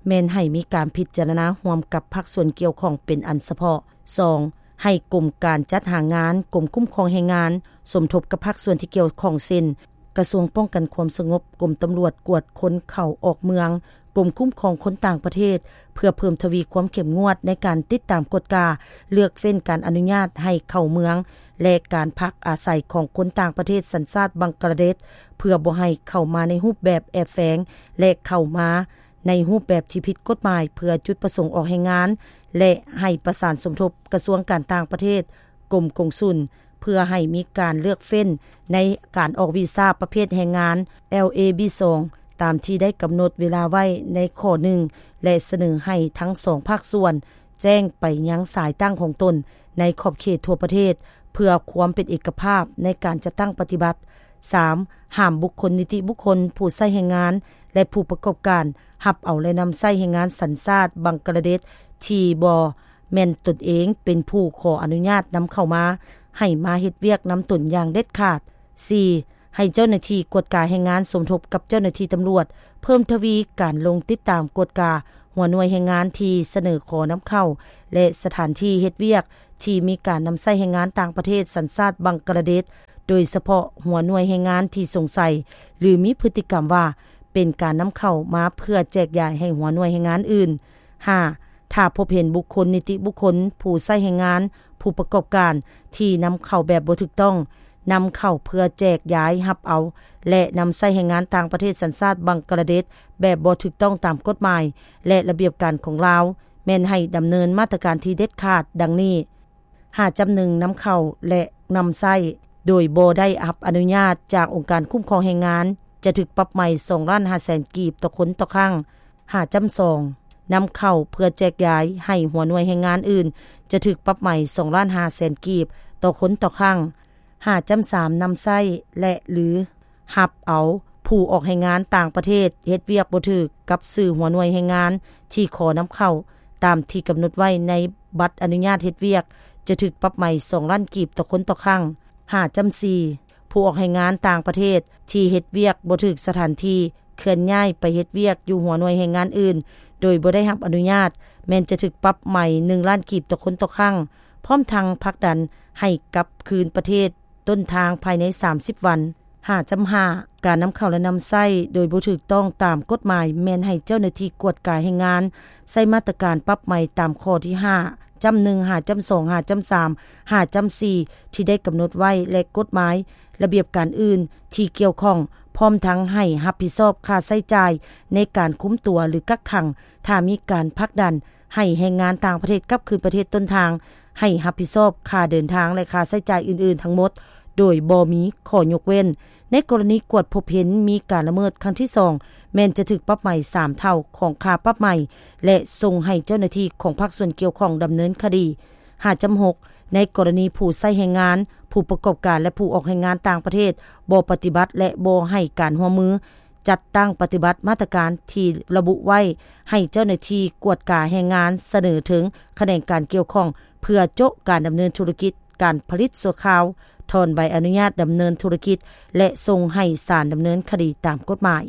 ແມ່ນໃຫ້ມີການພິຈາລະນາຮ່ວມກັບພາກສ່ວນກ່ຽວຂ້ອງເປັນອັນສະເພາະ. ສອງ ໃຫ້ກົມການຈັດຫາງານ, ກົມຄຸ້ມຄອງແຮງງານ ສົມທົບກັບພາກສ່ວນທີ່ກ່ຽວຂ້ອງ ເຊັ່ນ ກະຊວງປ້ອງກັນຄວາມສະຫງົບ, ກົມຕຳຫຼວດກວດຄົນເຂົ້າອອກເມືອງ, ກົມຄຸ້ມຄອງຄົນຕ່າງປະເທດ ເພື່ອເພີ່ມທະວີຄວາມເຂັ້ມງວດໃນການຕິດຕາມກວດກາ, ເລືອກເວັ້ນການອະນຸຍາດໃຫ້ເຂົ້າເມືອງ ແລະ ການພັກອາໄສຂອງຄົນຕ່າງປະເທດສັນຊາດບັງກາລາເດດ ເພື່ອບໍ່ໃຫ້ເຂົ້າມາໃນຮູບແບບແອບແຝງ ແລະ ເຂົ້າມາ ໃນຮູບແບບທີ່ຜິດກົດໝາຍເພື່ອຈຸດປະສົງອອກແຮງງານ ແລະ ໃຫ້ປະສານສົມທົບກະຊວງການຕ່າງປະເທດ, ກົມກົງສຸນ, ເພື່ອໃຫ້ມີການເລືອກເຟ້ນໃນການອອກວີຊາປະເພດແຮງງານ ແອລເອບີສອງ ຕາມທີ່ໄດ້ກຳນົດເວລາໄວ້ໃນຂໍ້ໜຶ່ງ ແລະ ສະເໜີໃຫ້ທັງສອງພາກສ່ວນແຈ້ງໄປຍັງສາຍຕັ້ງຂອງຕົນໃນຂອບເຂດທົ່ວປະເທດ ເພື່ອຄວາມເປັນເອກະພາບໃນການຈັດຕັ້ງປະຕິບັດ. ສາມ ຫ້າມບຸກຄົນນິຕິບຸກຄົນ, ຜູ້ໃຊ້ແຮງງານ ແລະ ຜູ້ປະກອບການ ຮັບເອົາ ແລະ ນຳໃຊ້ແຮງງານສັນຊາດບັງກະລາເດດ ທີ່ບໍ່ແມ່ນຕົນເອງເປັນຜູ້ຂໍອະນຸຍາດນຳເຂົ້າມາ ໃຫ້ມາເຮັດວຽກນຳຕົນຢ່າງເດັດຂາດ. ສີ່ ໃຫ້ເຈົ້າໜ້າທີ່ກວດກາແຮງງານສົມທົບກັບເຈົ້າໜ້າທີ່ຕຳຫຼວດ ເພີ່ມທະວີການລົງຕິດຕາມກວດກາຫົວໜ່ວຍແຮງງານທີ່ສະເໜີຂໍນຳເຂົ້າ ແລະ ສະຖານທີ່ເຮັດວຽກທີ່ມີການນຳໃຊ້ແຮງງານຕ່າງປະເທດສັນຊາດບັງກະລາເດດ, ໂດຍສະເພາະຫົວໜ່ວຍແຮງງານທີ່ສົງໄສ ຫຼື ມີພຶດຕິກຳວ່າເປັນການນຳເຂົ້າມາເພື່ອແຈກຢາຍໃຫ້ຫົວໜ່ວຍແຮງງານອື່ນ. ຫ້າ ຖ້າພົບເຫັນບຸກຄົນນິຕິບຸກຄົນ, ຜູ້ໃຊ້ແຮງງານ, ຜູ້ປະກອບການທີ່ນຳເຂົ້າແບບບໍ່ຖືກຕ້ອງ, ນຳເຂົ້າເພື່ອແຈກຢາຍ, ຮັບເອົາ ແລະ ນຳໃຊ້ແຮງງານຕ່າງປະເທດສັນຊາດບັງກະລາເດດແບບບໍ່ຖືກຕ້ອງຕາມກົດໝາຍ ແລະ ລະບຽບການຂອງລາວ, ແມ່ນໃຫ້ດຳເນີນມາດຕະການທີ່ເດັດຂາດດັ່ງນີ້. ຫ້າຈ້ຳໜຶ່ງ ນຳເຂົ້າ ແລະ ນຳໃຊ້ໂດຍບໍ່ໄດ້ຮັບອະນຸຍາດຈາກອົງການຄຸ້ມຄອງແຮງງານ ຈະຖືກປັບໃໝສອງລ້ານຫ້າແສນກີບຕໍ່ຄົນຕໍ່ຄັ້ງ. ຫ້າຈ້ຳສອງ ນຳເຂົ້າເພື່ອແຈກຢາຍໃຫ້ຫົວໜ່ວຍແຮງງານອື່ນ ຈະຖືກປັບໃໝສອງລ້ານຫ້າແສນກີບຕໍ່ຄົນຕໍ່ຄັ້ງ. ຫ້າຈ້ຳສາມ ນຳໃຊ້ ແລະ ຫຼື ຮັບເອົາຜູ້ອອກແຮງງານຕ່າງປະເທດເຮັດວຽກບໍ່ຖືກກັບຊື່ຫົວໜ່ວຍແຮງງານທີ່ຂໍນຳເຂົ້າ ຕາມທີ່ກຳນົດໄວ້ໃນບັດອະນຸຍາດເຮັດວຽກ ຈະຖືກປັບໃໝສອງລ້ານກີບຕໍ່ຄົນຕໍ່ຄັ້ງ. ຫ້າຈ້ຳສີ່ ຜູ້ອອກແຮງງານຕ່າງປະເທດທີ່ເຮັດວຽກບໍ່ຖືກສະຖານທີ່ ເຄື່ອນຍ້າຍໄປເຮັດວຽກຢູ່ຫົວໜ່ວຍແຮງງານອື່ນ ໂດຍບໍ່ໄດ້ຮັບອະນຸຍາດ ແມ່ນຈະຖືກປັບໃໝໜຶ່ງລ້ານກີບຕໍ່ຄົນຕໍ່ຄັ້ງ, ພ້ອມທັງຜັກດັນໃຫ້ກັບຄືນປະເທດຕົ້ນທາງພາຍໃນສາມສິບວັນ. ຫ້າຈ້ຳຫ້າ ການນຳເຂົ້າ ແລະ ນຳໃຊ້ໂດຍບໍ່ຖືກຕ້ອງຕາມກົດໝາຍ ແມ່ນໃຫ້ເຈົ້າໜ້າທີ່ກວດກາແຮງງານໃຊ້ມາດຕະການປັບໃໝຕາມຂໍ້ທີຫ້າຈ້ຳໜຶ່ງ ຫ້າຈ້ຳສອງ ຫ້າຈ້ຳສາມ ຫ້າຈ້ຳສີ່ ທີ່ໄດ້ກຳນົດໄວ້ ແລະ ກົດໝາຍ ລະບຽບການອື່ນທີ່ກ່ຽວຂ້ອງ, ພ້ອມທັງໃຫ້ຮັບຜິດຊອບຄ່າໃຊ້ຈ່າຍໃນການຄຸມຕົວ ຫຼື ກັກຂັງ, ຖ້າມີການຜັກດັນໃຫ້ແຮງງານຕ່າງປະເທດກັບຄືນປະເທດຕົ້ນທາງ, ໃຫ້ຮັບຜິດຊອບຄ່າເດີນທາງ ແລະ ຄ່າໃຊ້ຈ່າຍອື່ນໆທັງໝົດ ໂດຍບໍ່ມີຂໍ້ຍົກເວັ້ນ. ໃນກໍລະນີກວດພົບເຫັນມີການລະເມີດຄັ້ງທີສອງ ແມ່ນຈະຖືກປັບໃໝສາມເທົ່າຂອງຄ່າປັບໃໝ ແລະ ສົ່ງໃຫ້ເຈົ້າໜ້າທີ່ຂອງພາກສ່ວນກ່ຽວຂ້ອງດຳເນີນຄະດີ. ຫ້າຈ້ຳຫົກ ໃນກໍລະນີຜູ້ໃຊ້ແຮງງານ, ຜູ້ປະກອບການ ແລະ ຜູ້ອອກແຮງງານຕ່າງປະເທດບໍ່ປະຕິບັດ ແລະ ບໍ່ໃຫ້ການຮ່ວມມືຈັດຕັ້ງປະຕິບັດມາດຕະການທີ່ລະບຸໄວ້ ໃຫ້ເຈົ້າໜ້າທີ່ກວດກາແຮງງານສະເໜີເຖິງຂະແໜງການກ່ຽວຂ້ອງ ເພື່ອໂຈະການດຳເນີນທຸລະກິດການຜະລິດຊົ່ວຄາວ, ຖອນໃບອະນຸຍາດດຳເນີນທຸລະກິດ ແລະ ສົ່ງໃຫ້ສານດຳເນີນຄະດີຕາມກົດໝາຍ.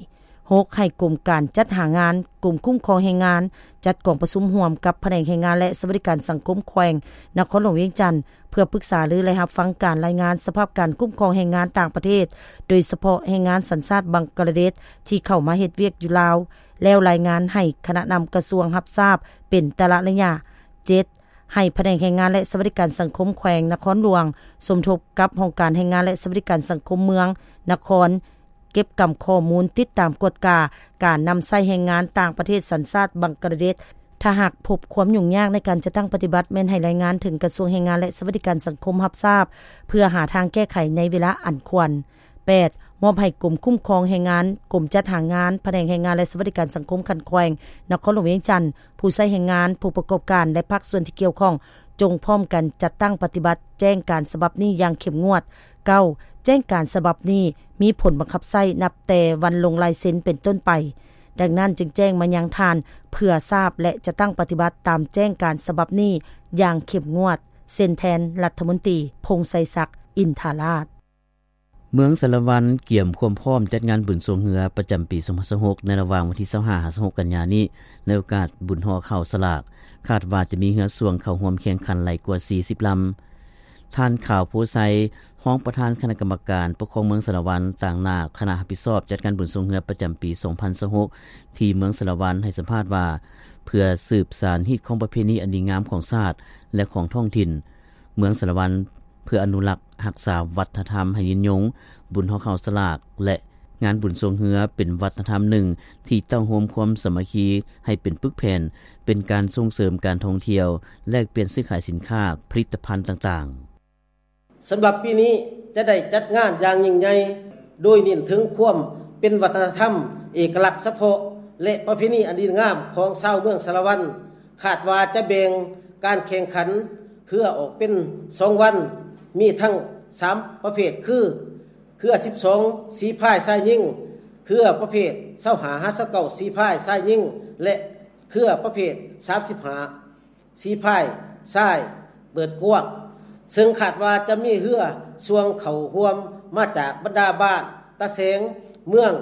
ຫົກ ໃຫ້ກົມການຈັດຫາງານ, ກົມຄຸ້ມຄອງແຮງງານ ຈັດກອງປະຊຸມຮ່ວມກັບພະແນກແຮງງານ ແລະ ສະຫວັດດີການສັງຄົມແຂວງນະຄອນຫຼວງວຽງຈັນ ເພື່ອປຶກສາລື ແລະ ຮັບຟັງການລາຍງານສະພາບການຄຸ້ມຄອງແຮງງານຕ່າງປະເທດ, ໂດຍສະເພາະແຮງງານສັນຊາດບັງກະລາເດດ ທີ່ເຂົ້າມາເຮັດວຽກຢູ່ລາວ ແລ້ວລາຍງານໃຫ້ຄະນະນຳກະຊວງຮັບຊາບເປັນແຕ່ລະໄລຍະ. ເຈັດ ໃຫ້ພະແນກແຮງງານ ແລະ ສະຫວັດດີການສັງຄົມແຂວງນະຄອນຫຼວງ ສົມທົບກັບຫ້ອງການແຮງງານ ແລະ ສະຫວັດດີການສັງຄົມເມືອງ, ນະຄອນ ເກັບກຳຂໍ້ມູນຕິດຕາມກວດກາການນຳໃຊ້ແຮງງານຕ່າງປະເທດສັນຊາດບັງກະລາເດດ. ຖ້າຫາກພົບຄວາມຫຍຸ້ງຍາກໃນການຈັດຕັ້ງປະຕິບັດ, ແມ່ນໃຫ້ລາຍງານເຖິງກະຊວງແຮງງານ ແລະ ສະຫວັດດີການສັງຄົມຮັບຊາບ ເພື່ອຫາທາງແກ້ໄຂໃນເວລາອັນຄວນ. ແປດ ມອບໃຫ້ກົມຄຸ້ມຄອງແຮງງານ, ກົມຈັດຫາງານ, ພະແນກແຮງງານ ແລະ ສະຫວັດດີການສັງຄົມຂັ້ນແຂວງນະຄອນຫຼວງວຽງຈັນ, ຜູ້ໃຊ້ແຮງງານ, ຜູ້ປະກອບການ ແລະ ພາກສ່ວນທີ່ກ່ຽວຂ້ອງ ຈົ່ງພ້ອມກັນຈັດຕັ້ງປະຕິບັດແຈ້ງການສະບັບນີ້ຢ່າງເຂັ້ມງວດ. ເກົ້າ ແຈ້ງການສະບັບນີ້ມີຜົນບັງຄັບໃຊ້ນັບແຕ່ວັນລົງລາຍເຊັນເປັນຕົ້ນໄປ. ດັ່ງນັ້ນຈຶ່ງແຈ້ງມາຍັງທ່ານເພື່ອຊາບ ແລະ ຈັດຕັ້ງປະຕິບັດຕາມແຈ້ງການສະບັບນີ້ຢ່າງເຂັ້ມງວດ. ເຊັນແທນ ລັດຖະມົນຕີ ພົງໄຊສັກ ອິນທາລາດ. ເມືອງສາລະວັນກຽມຄວາມພ້ອມຈັດງານບຸນຊ່ວງເຮືອປະຈຳປີສອງພັນຊາວຫົກ ໃນລະຫວ່າງວັນທີຊາວຫ້າ ຫາ ຊາວຫົກ ກັນຍານີ້ ໃນໂອກາດບຸນຫໍ່ເຂົ້າສະຫຼາກ. ຄາດວ່າຈະມີເຮືອຊ່ວງເຂົ້າຮ່ວມແຂ່ງຂັນຫຼາຍກວ່າສີ່ສິບລຳ. ທ່ານ ຂາວ ໂພໄຊ, ຮອງປະທານຄະນະກຳມະການປົກຄອງເມືອງສາລະວັນ, ຕາງໜ້າຄະນະຮັບຜິດຊອບຈັດງານບຸນຊ່ວງເຮືອປະຈຳປີສອງພັນຊາວຫົກ ທີ່ເມືອງສາລະວັນ ໃຫ້ສຳພາດວ່າ ເພື່ອສືບສານຮີດຄອງປະເພນີອັນດີງາມຂອງຊາດ ແລະ ຂອງທ້ອງຖິ່ນ ເມືອງສາລະວັນ ເພື່ອອະນຸລັກຮັກສາວັດທະນະທຳໃຫ້ຍືນຍົງ, ບຸນຫໍ່ເຂົ້າສະຫຼາກ ແລະ ງານບຸນຊ່ວງເຮືອເປັນວັດທະນະທຳໜຶ່ງທີ່ເຕົ້າໂຮມຄວາມສາມັກຄີໃຫ້ເປັນປຶກແຜ່ນ, ເປັນການສົ່ງເສີມການທ່ອງທ່ຽວ, ແລກປ່ຽນຊື້ຂາຍສິນຄ້າ, ຜະລິດຕະພັນຕ່າງໆ. ສຳລັບປີນີ້ຈະໄດ້ຈັດງານຢ່າງຍິ່ງໃຫຍ່ ໂດຍເນັ້ນເຖິງຄວາມເປັນວັດທະນະທຳເອກະລັກສະເພາະ ແລະ ປະເພນີອັນດີງາມຂອງຊາວເມືອງສາລະວັນ. ຄາດວ່າຈະແບ່ງການແຂ່ງຂັນເຮືອອອກເປັນສອງວັນ, ມີທັງສາມປະເພດຄື ເຮືອສິບສອງສີພາຍຊາຍຍິງ, ເຮືອປະເພດຊາວຫ້າຫາຊາວເກົ້າສີພາຍຊາຍຍິງ ແລະ ເຮືອປະເພດສາມສິບຫ້າ ສີພາຍຊາຍເປີດກວ້າງ, ເຊິ່ງຄາດວ່າຈະມີເຮືອຊ່ວງເຂົ້າຮ່ວມມາຈາກບັນດາບ້ານຕາແສງ, ເມືອງ,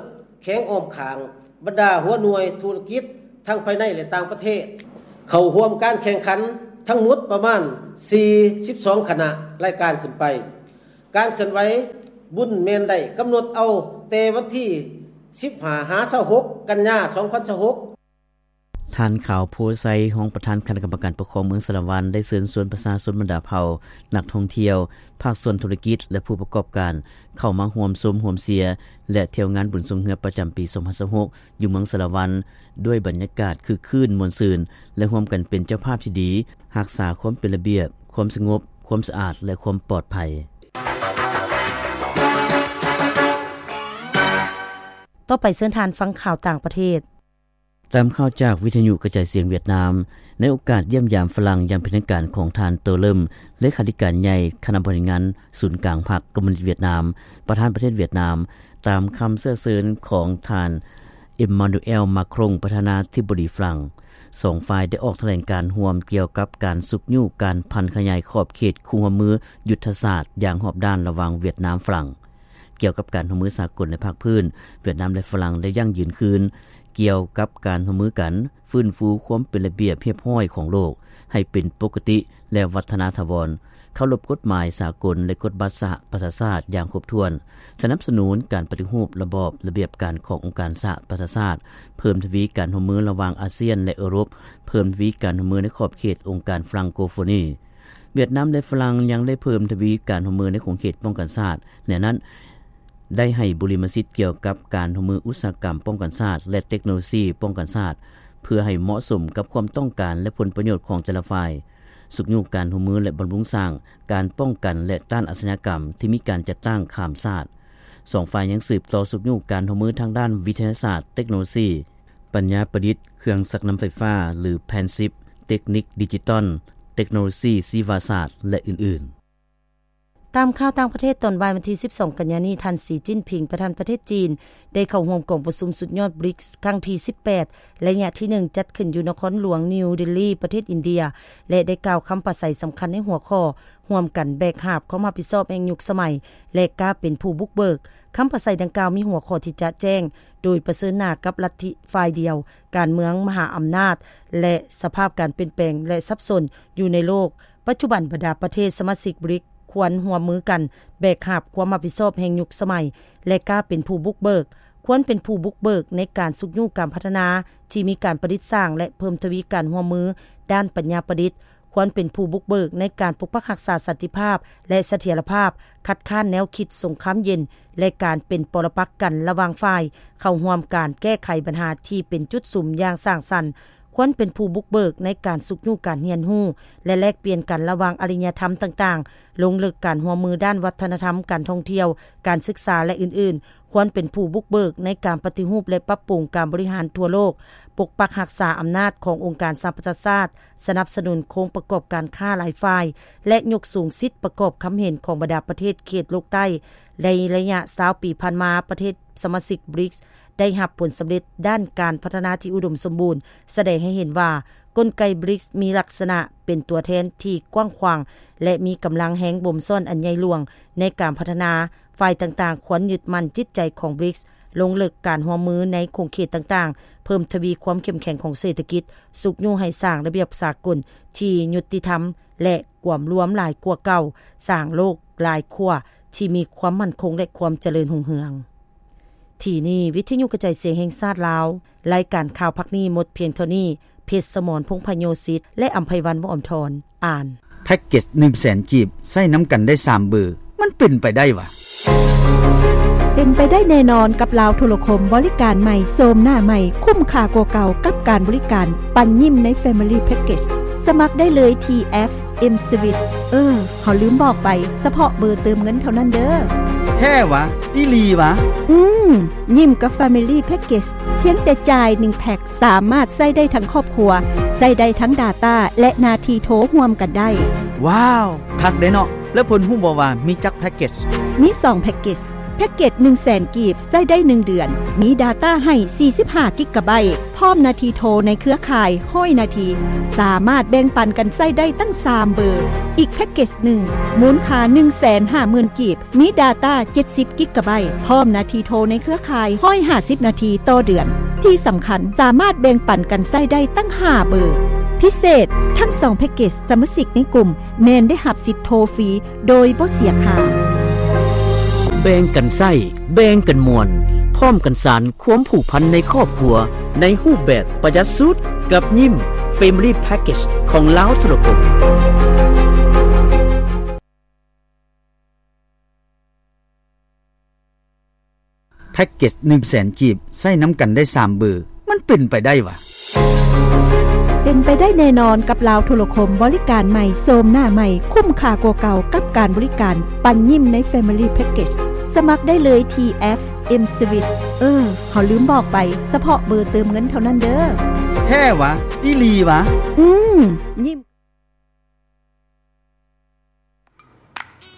ແຂວງອ້ອມຂ້າງ, ບັນດາຫົວໜ່ວຍທຸລະກິດທັງພາຍໃນ ແລະ ຕ່າງປະເທດ ເຂົ້າຮ່ວມການແຂ່ງຂັນທັງໝົດປະມານສີ່ສິບສອງຄະນະລາຍການຂຶ້ນໄປ. ການເຄື່ອນໄຫວບຸນແມ່ນໄດ້ກຳນົດເອົາແຕ່ວັນທີສິບຫ້າຫາຊາວຫົກ ກັນຍາ ສອງພັນຊາວຫົກ. ທ່ານ ຂາວ ໂພໄຊ ຮອງປະທານຄະນະກຳມະການປົກຄອງເມືອງສາລະວັນ ໄດ້ເຊີນຊວນປະຊາຊົນບັນດາເຜົ່າ, ນັກທ່ອງທ່ຽວ, ພາກສ່ວນທຸລະກິດ ແລະ ຜູ້ປະກອບການ ເຂົ້າມາຮ່ວມຊົມຮ່ວມເຊຍ ແລະ ທ່ຽວງານບຸນຊ່ວງເຮືອປະຈຳປີສອງພັນຊາວຫົກ ຢູ່ເມືອງສາລະວັນ ດ້ວຍບັນຍາກາດຄຶກຄື້ນມ່ວນຊື່ນ ແລະ ຮ່ວມກັນເປັນເຈົ້າພາບທີ່ດີ ຮັກສາຄວາມເປັນລະບຽບ, ຄວາມສະຫງົບ, ຄວາມສະອາດ ແລະ ຄວາມປອດໄພ. ຕໍ່ໄປເຊີນທ່ານຟັງຂ່າວຕ່າງປະເທດ. ຕາມຂ່າວຈາກວິທະຍຸກະຈາຍສຽງຫວຽດນາມ, ໃນໂອກາດຢ້ຽມຢາມຝຣັ່ງຢ່າງເປັນທາງການຂອງທ່ານ ໂຕ ເລີມ ເລຂາທິການໃຫຍ່ຄະນະບໍລິຫານງານສູນກາງພັກຄອມມູນິດຫວຽດນາມ, ປະທານປະເທດຫວຽດນາມ, ຕາມຄຳເຊື້ອເຊີນຂອງທ່ານ ເອມມານູແອລ ມາຄຣົງ ປະທານາທິບໍດີຝຣັ່ງ, ສອງຝ່າຍໄດ້ອອກຖະແຫຼງການຮ່ວມກ່ຽວກັບການຊຸກຍູ້ການຜັນຂະຫຍາຍຂອບເຂດຄູ່ຮ່ວມມືຍຸດທະສາດຢ່າງຮອບດ້ານລະຫວ່າງຫວຽດນາມ-ຝຣັ່ງ. ກ່ຽວກັບການຮ່ວມມືສາກົນໃນພາກພື້ນ, ຫວຽດນາມ ແລະ ຝຣັ່ງໄດ້ຢັ້ງຢືນຄືນກ່ຽວກັບການຮ່ວມມືກັນ ຟື້ນຟູຄວາມເປັນລະບຽບຮຽບຮ້ອຍຂອງໂລກໃຫ້ເປັນປົກກະຕິ ແລະ ວັດທະນາຖາວອນ, ເຄົາລົບກົດໝາຍສາກົນ ແລະ ກົດບັດສະຫະປະຊາຊາດຢ່າງຄົບຖ້ວນ, ສະໜັບສະໜູນການປະຕິຮູບລະບອບລະບຽບການຂອງອົງການສະຫະປະຊາຊາດ, ເພີ່ມທະວີການຮ່ວມມືລະຫວ່າງອາຊຽນ ແລະ ເອີຣົບ, ເພີ່ມທະວີການຮ່ວມມືໃນຂອບເຂດອົງການຝຣັ່ງໂກໂຟນີ. ຫວຽດນາມ ແລະ ຝຣັ່ງຍັງໄດ້ເພີ່ມທະວີການຮ່ວມມືໃນຂົງເຂດປ້ອງກັນຊາດ, ໃນນັ້ນ ໄດ້ໃຫ້ບຸລິມະສິດກ່ຽວກັບການຮ່ວມມືອຸດສາຫະກຳປ້ອງກັນຊາດ ແລະ ເຕັກໂນໂລຊີປ້ອງກັນຊາດ ເພື່ອໃຫ້ເໝາະສົມກັບຄວາມຕ້ອງການ ແລະ ຜົນປະໂຫຍດຂອງແຕ່ລະຝ່າຍ, ຊຸກຍູ້ການຮ່ວມມື ແລະ ບຳລຸງສ້າງການປ້ອງກັນ ແລະ ຕ້ານອາຊະຍາກຳທີ່ມີການຈັດຕັ້ງຂ້າມຊາດ. ສອງຝ່າຍຍັງສືບຕໍ່ຊຸກຍູ້ການຮ່ວມມືທາງດ້ານວິທະຍາສາດ, ເຕັກໂນໂລຊີ, ປັນຍາປະດິດ, ເຄື່ອງຊັກນ້ຳໄຟຟ້າ ຫຼື ແພນຊິບ, ເຕັກນິກດິຈິຕອນ, ເຕັກໂນໂລຊີຊີວະສາດ ແລະ ອື່ນໆ. ຕາມຂ່າວຕ່າງປະເທດ, ຕອນບ່າຍວັນທີສິບສອງ ກັນຍານີ້, ທ່ານ ສີ ຈິ້ນຜິງ ປະທານປະເທດຈີນ ໄດ້ເຂົ້າຮ່ວມກອງປະຊຸມສຸດຍອດ ບຣິກສ໌ ຄັ້ງທີສິບແປດ ໄລຍະທີໜຶ່ງ ຈັດຂຶ້ນຢູ່ນະຄອນຫຼວງນິວເດລີ ປະເທດອິນເດຍ ແລະ ໄດ້ກ່າວຄຳປາໄສສຳຄັນໃນຫົວຂໍ້ ຮ່ວມກັນແບກຫາບຄວາມຮັບຜິດຊອບແຫ່ງຍຸກສະໄໝ ແລະ ກ້າເປັນຜູ້ບຸກເບີກ. ຄຳປາໄສດັ່ງກ່າວມີຫົວຂໍ້ທີ່ຈະແຈ້ງ, ໂດຍປະເຊີນໜ້າກັບລັດທິຝ່າຍດຽວ, ການເມືອງມະຫາອຳນາດ ແລະ ສະພາບການປ່ຽນແປງ ແລະ ສັບສົນຢູ່ໃນໂລກ. ປັດຈຸບັນບັນດາປະເທດສະມາຊິກ ບຣິກສ໌ ຄວນຮ່ວມມືກັນແບກຫາບຄວາມຮັບຜິດຊອບແຫ່ງຍຸກສະໄໝ ແລະ ກ້າເປັນຜູ້ບຸກເບີກ. ຄວນເປັນຜູ້ບຸກເບີກໃນການຊຸກຍູ້ການພັດທະນາທີ່ມີການປະດິດສ້າງ ແລະ ເພີ່ມທະວີການຮ່ວມມືດ້ານປັນຍາປະດິດ. ຄວນເປັນຜູ້ບຸກເບີກໃນການປົກປັກຮັກສາສັນຕິພາບ ແລະ ສະຖຽນລະພາບ, ຄັດຄ້ານແນວຄິດສົງຄາມເຢັນ ແລະ ການເປັນປໍລະປັກກັນລະຫວ່າງຝ່າຍ, ເຂົ້າຮ່ວມການແກ້ໄຂບັນຫາທີ່ເປັນຈຸດສຸມຢ່າງສ້າງສັນ. ຄວນເປັນຜູ້ບຸກເບີກໃນການຊຸກຍູ້ການຮຽນຮູ້ ແລະ ແລກປ່ຽນກັນລະຫວ່າງອາລິຍະທຳຕ່າງໆ, ລົງເລິກການຮ່ວມມືດ້ານວັດທະນະທຳ, ການທ່ອງທ່ຽວ, ການສຶກສາ ແລະ ອື່ນໆ. ຄວນເປັນຜູ້ບຸກເບີກໃນການປະຕິຮູບ ແລະ ປັບປຸງການບໍລິຫານທົ່ວໂລກ, ປົກປັກຮັກສາອຳນາດຂອງອົງການສະຫະປະຊາຊາດ, ສະໜັບສະໜູນໂຄງປະກອບການຄ້າຫຼາຍຝ່າຍ ແລະ ຍົກສູງສິດປະກອບຄຳເຫັນຂອງບັນດາປະເທດເຂດໂລກໃຕ້. ໃນໄລຍະຊາວປີຜ່ານມາ, ປະເທດສະມາຊິກ ບຣິກສ໌ ໄດ້ຮັບຜົນສຳເລັດດ້ານການພັດທະນາທີ່ອຸດົມສົມບູນ, ສະແດງໃຫ້ເຫັນວ່າ ກົນໄກ ບຣິກສ໌ ມີລັກສະນະເປັນຕົວແທນທີ່ກວ້າງຂວາງ ແລະ ມີກຳລັງແຮງບົ່ມຊ້ອນອັນໃຫຍ່ຫຼວງໃນການພັດທະນາ. ຝ່າຍຕ່າງໆຄວນຍຶດໝັ້ນຈິດໃຈຂອງ ບຣິກສ໌, ລົງເລິກການຮ່ວມມືໃນຂົງເຂດຕ່າງໆ, ເພີ່ມທະວີຄວາມເຂັ້ມແຂງຂອງເສດຖະກິດ, ຊຸກຍູ້ໃຫ້ສ້າງລະບຽບສາກົນທີ່ຍຸຕິທຳ ແລະ ກວມລວມຫຼາຍກວ່າເກົ່າ, ສ້າງໂລກຫຼາຍຂົ້ວທີ່ມີຄວາມໝັ້ນຄົງ ແລະ ຄວາມຈະເລີນຮຸ່ງເຮືອງ. ທີ່ນີ້ ວິທະຍຸກະຈາຍສຽງແຫ່ງຊາດລາວ, ລາຍການຂ່າວພາກນີ້ໝົດພຽງເທົ່ານີ້. ເພັດສະໝອນ ພົງພະໂຍສິດ ແລະ ອຳໄພວັນ ວໍ້າທອນ ອ່ານ. ແພັກເກັດໜຶ່ງແສນກີບ ໃຊ້ນຳກັນໄດ້ສາມເບີ ມັນເປັນໄປໄດ້ຫວາ? ເປັນໄປໄດ້ແນ່ນອນກັບລາວໂທລະຄົມ, ບໍລິການໃໝ່, ໂສມໜ້າໃໝ່, ຄຸ້ມຄ່າກວ່າເກົ່າກັບການບໍລິການ, ປັນຍິ້ມໃນ Family Package. ສະໝັກໄດ້ເລີຍທີ່ ເອັຟ ເອັມ Suite. ເອີ ເຮົາລືມບອກໄປ, ສະເພາະເບີເຕີມເງິນເທົ່ານັ້ນເດີ. ແທ້ຫວາ? ອີ່ຫຼີຫວາ? ອືມ, ຍິ້ມກັບ Family Package ພຽງແຕ່ຈ່າຍໜຶ່ງແພັກ ສາມາດໃຊ້ໄດ້ທັງຄອບຄົວ, ໃຊ້ໄດ້ທັງ data ແລະ ນາທີໂທຮ່ວມກັນໄດ້. ວ້າວ, ຄັກເດ້ເນາະ. ແລ້ວເພິ່ນຮູ້ບໍ່ວ່າມີຈັກ package? ມີສອງ package. ແພັກເກດໜຶ່ງແສນກີບ ໃຊ້ໄດ້ໜຶ່ງເດືອນ, ມີ data ໃຫ້ສີ່ສິບຫ້າກິກກະໄບ, ພ້ອມນາທີໂທໃນເຄືອຂ່າຍຮ້ອຍນາທີ, ສາມາດແບ່ງປັນກັນໃຊ້ໄດ້ຕັ້ງສາມເບີ. ອີກແພັກເກດໜຶ່ງ ມູນຄ່າໜຶ່ງແສນຫ້າໝື່ນກີບ, ມີ data ເຈັດສິບກິກກະໄບ, ພ້ອມນາທີໂທໃນເຄືອຂ່າຍຮ້ອຍຫ້າສິບນາທີຕໍ່ເດືອນ. ທີ່ສຳຄັນ, ສາມາດແບ່ງປັນກັນໃຊ້ໄດ້ຕັ້ງຫ້າເບີ. ພິເສດ, ທັງສອງແພັກເກດສະມາຊິກໃນກຸ່ມ ແມ່ນໄດ້ຮັບສິດໂທຟຣີໂດຍບໍ່ເສຍຄ່າ. ແບ່ງກັນໃຊ້, ແບ່ງກັນມ່ວນ, ພ້ອມກັນສານຄວາມຜູກພັນໃນຄອບຄົວ ໃນຮູບແບບປະຢັດສຸດ ກັບຍິ້ມ Family Package ຂອງລາວໂທລະຄົມ. ແພັກເກດໜຶ່ງແສນກີບ ໃຊ້ນຳກັນໄດ້ສາມເບີ, ມັນເປັນໄປໄດ້ຫວາ? ເປັນໄປໄດ້ແນ່ນອນກັບລາວໂທລະຄົມ, ບໍລິການໃໝ່, ໂສມໜ້າໃໝ່, ຄຸ້ມຄ່າກວ່າເກົ່າກັບການບໍລິການ, ປັນຍິ້ມໃນ Family Package. ສະໝັກໄດ້ເລີຍທີ່ ເອັຟ ເອັມ Suite. ເອີ ເຮົາລືມບອກໄປ, ສະເພາະເບີເຕີມເງິນເທົ່ານັ້ນເດີ. ແທ້ຫວາ? ອີ່ຫຼີຫວາ? ອືມ, ຍິ້ມ.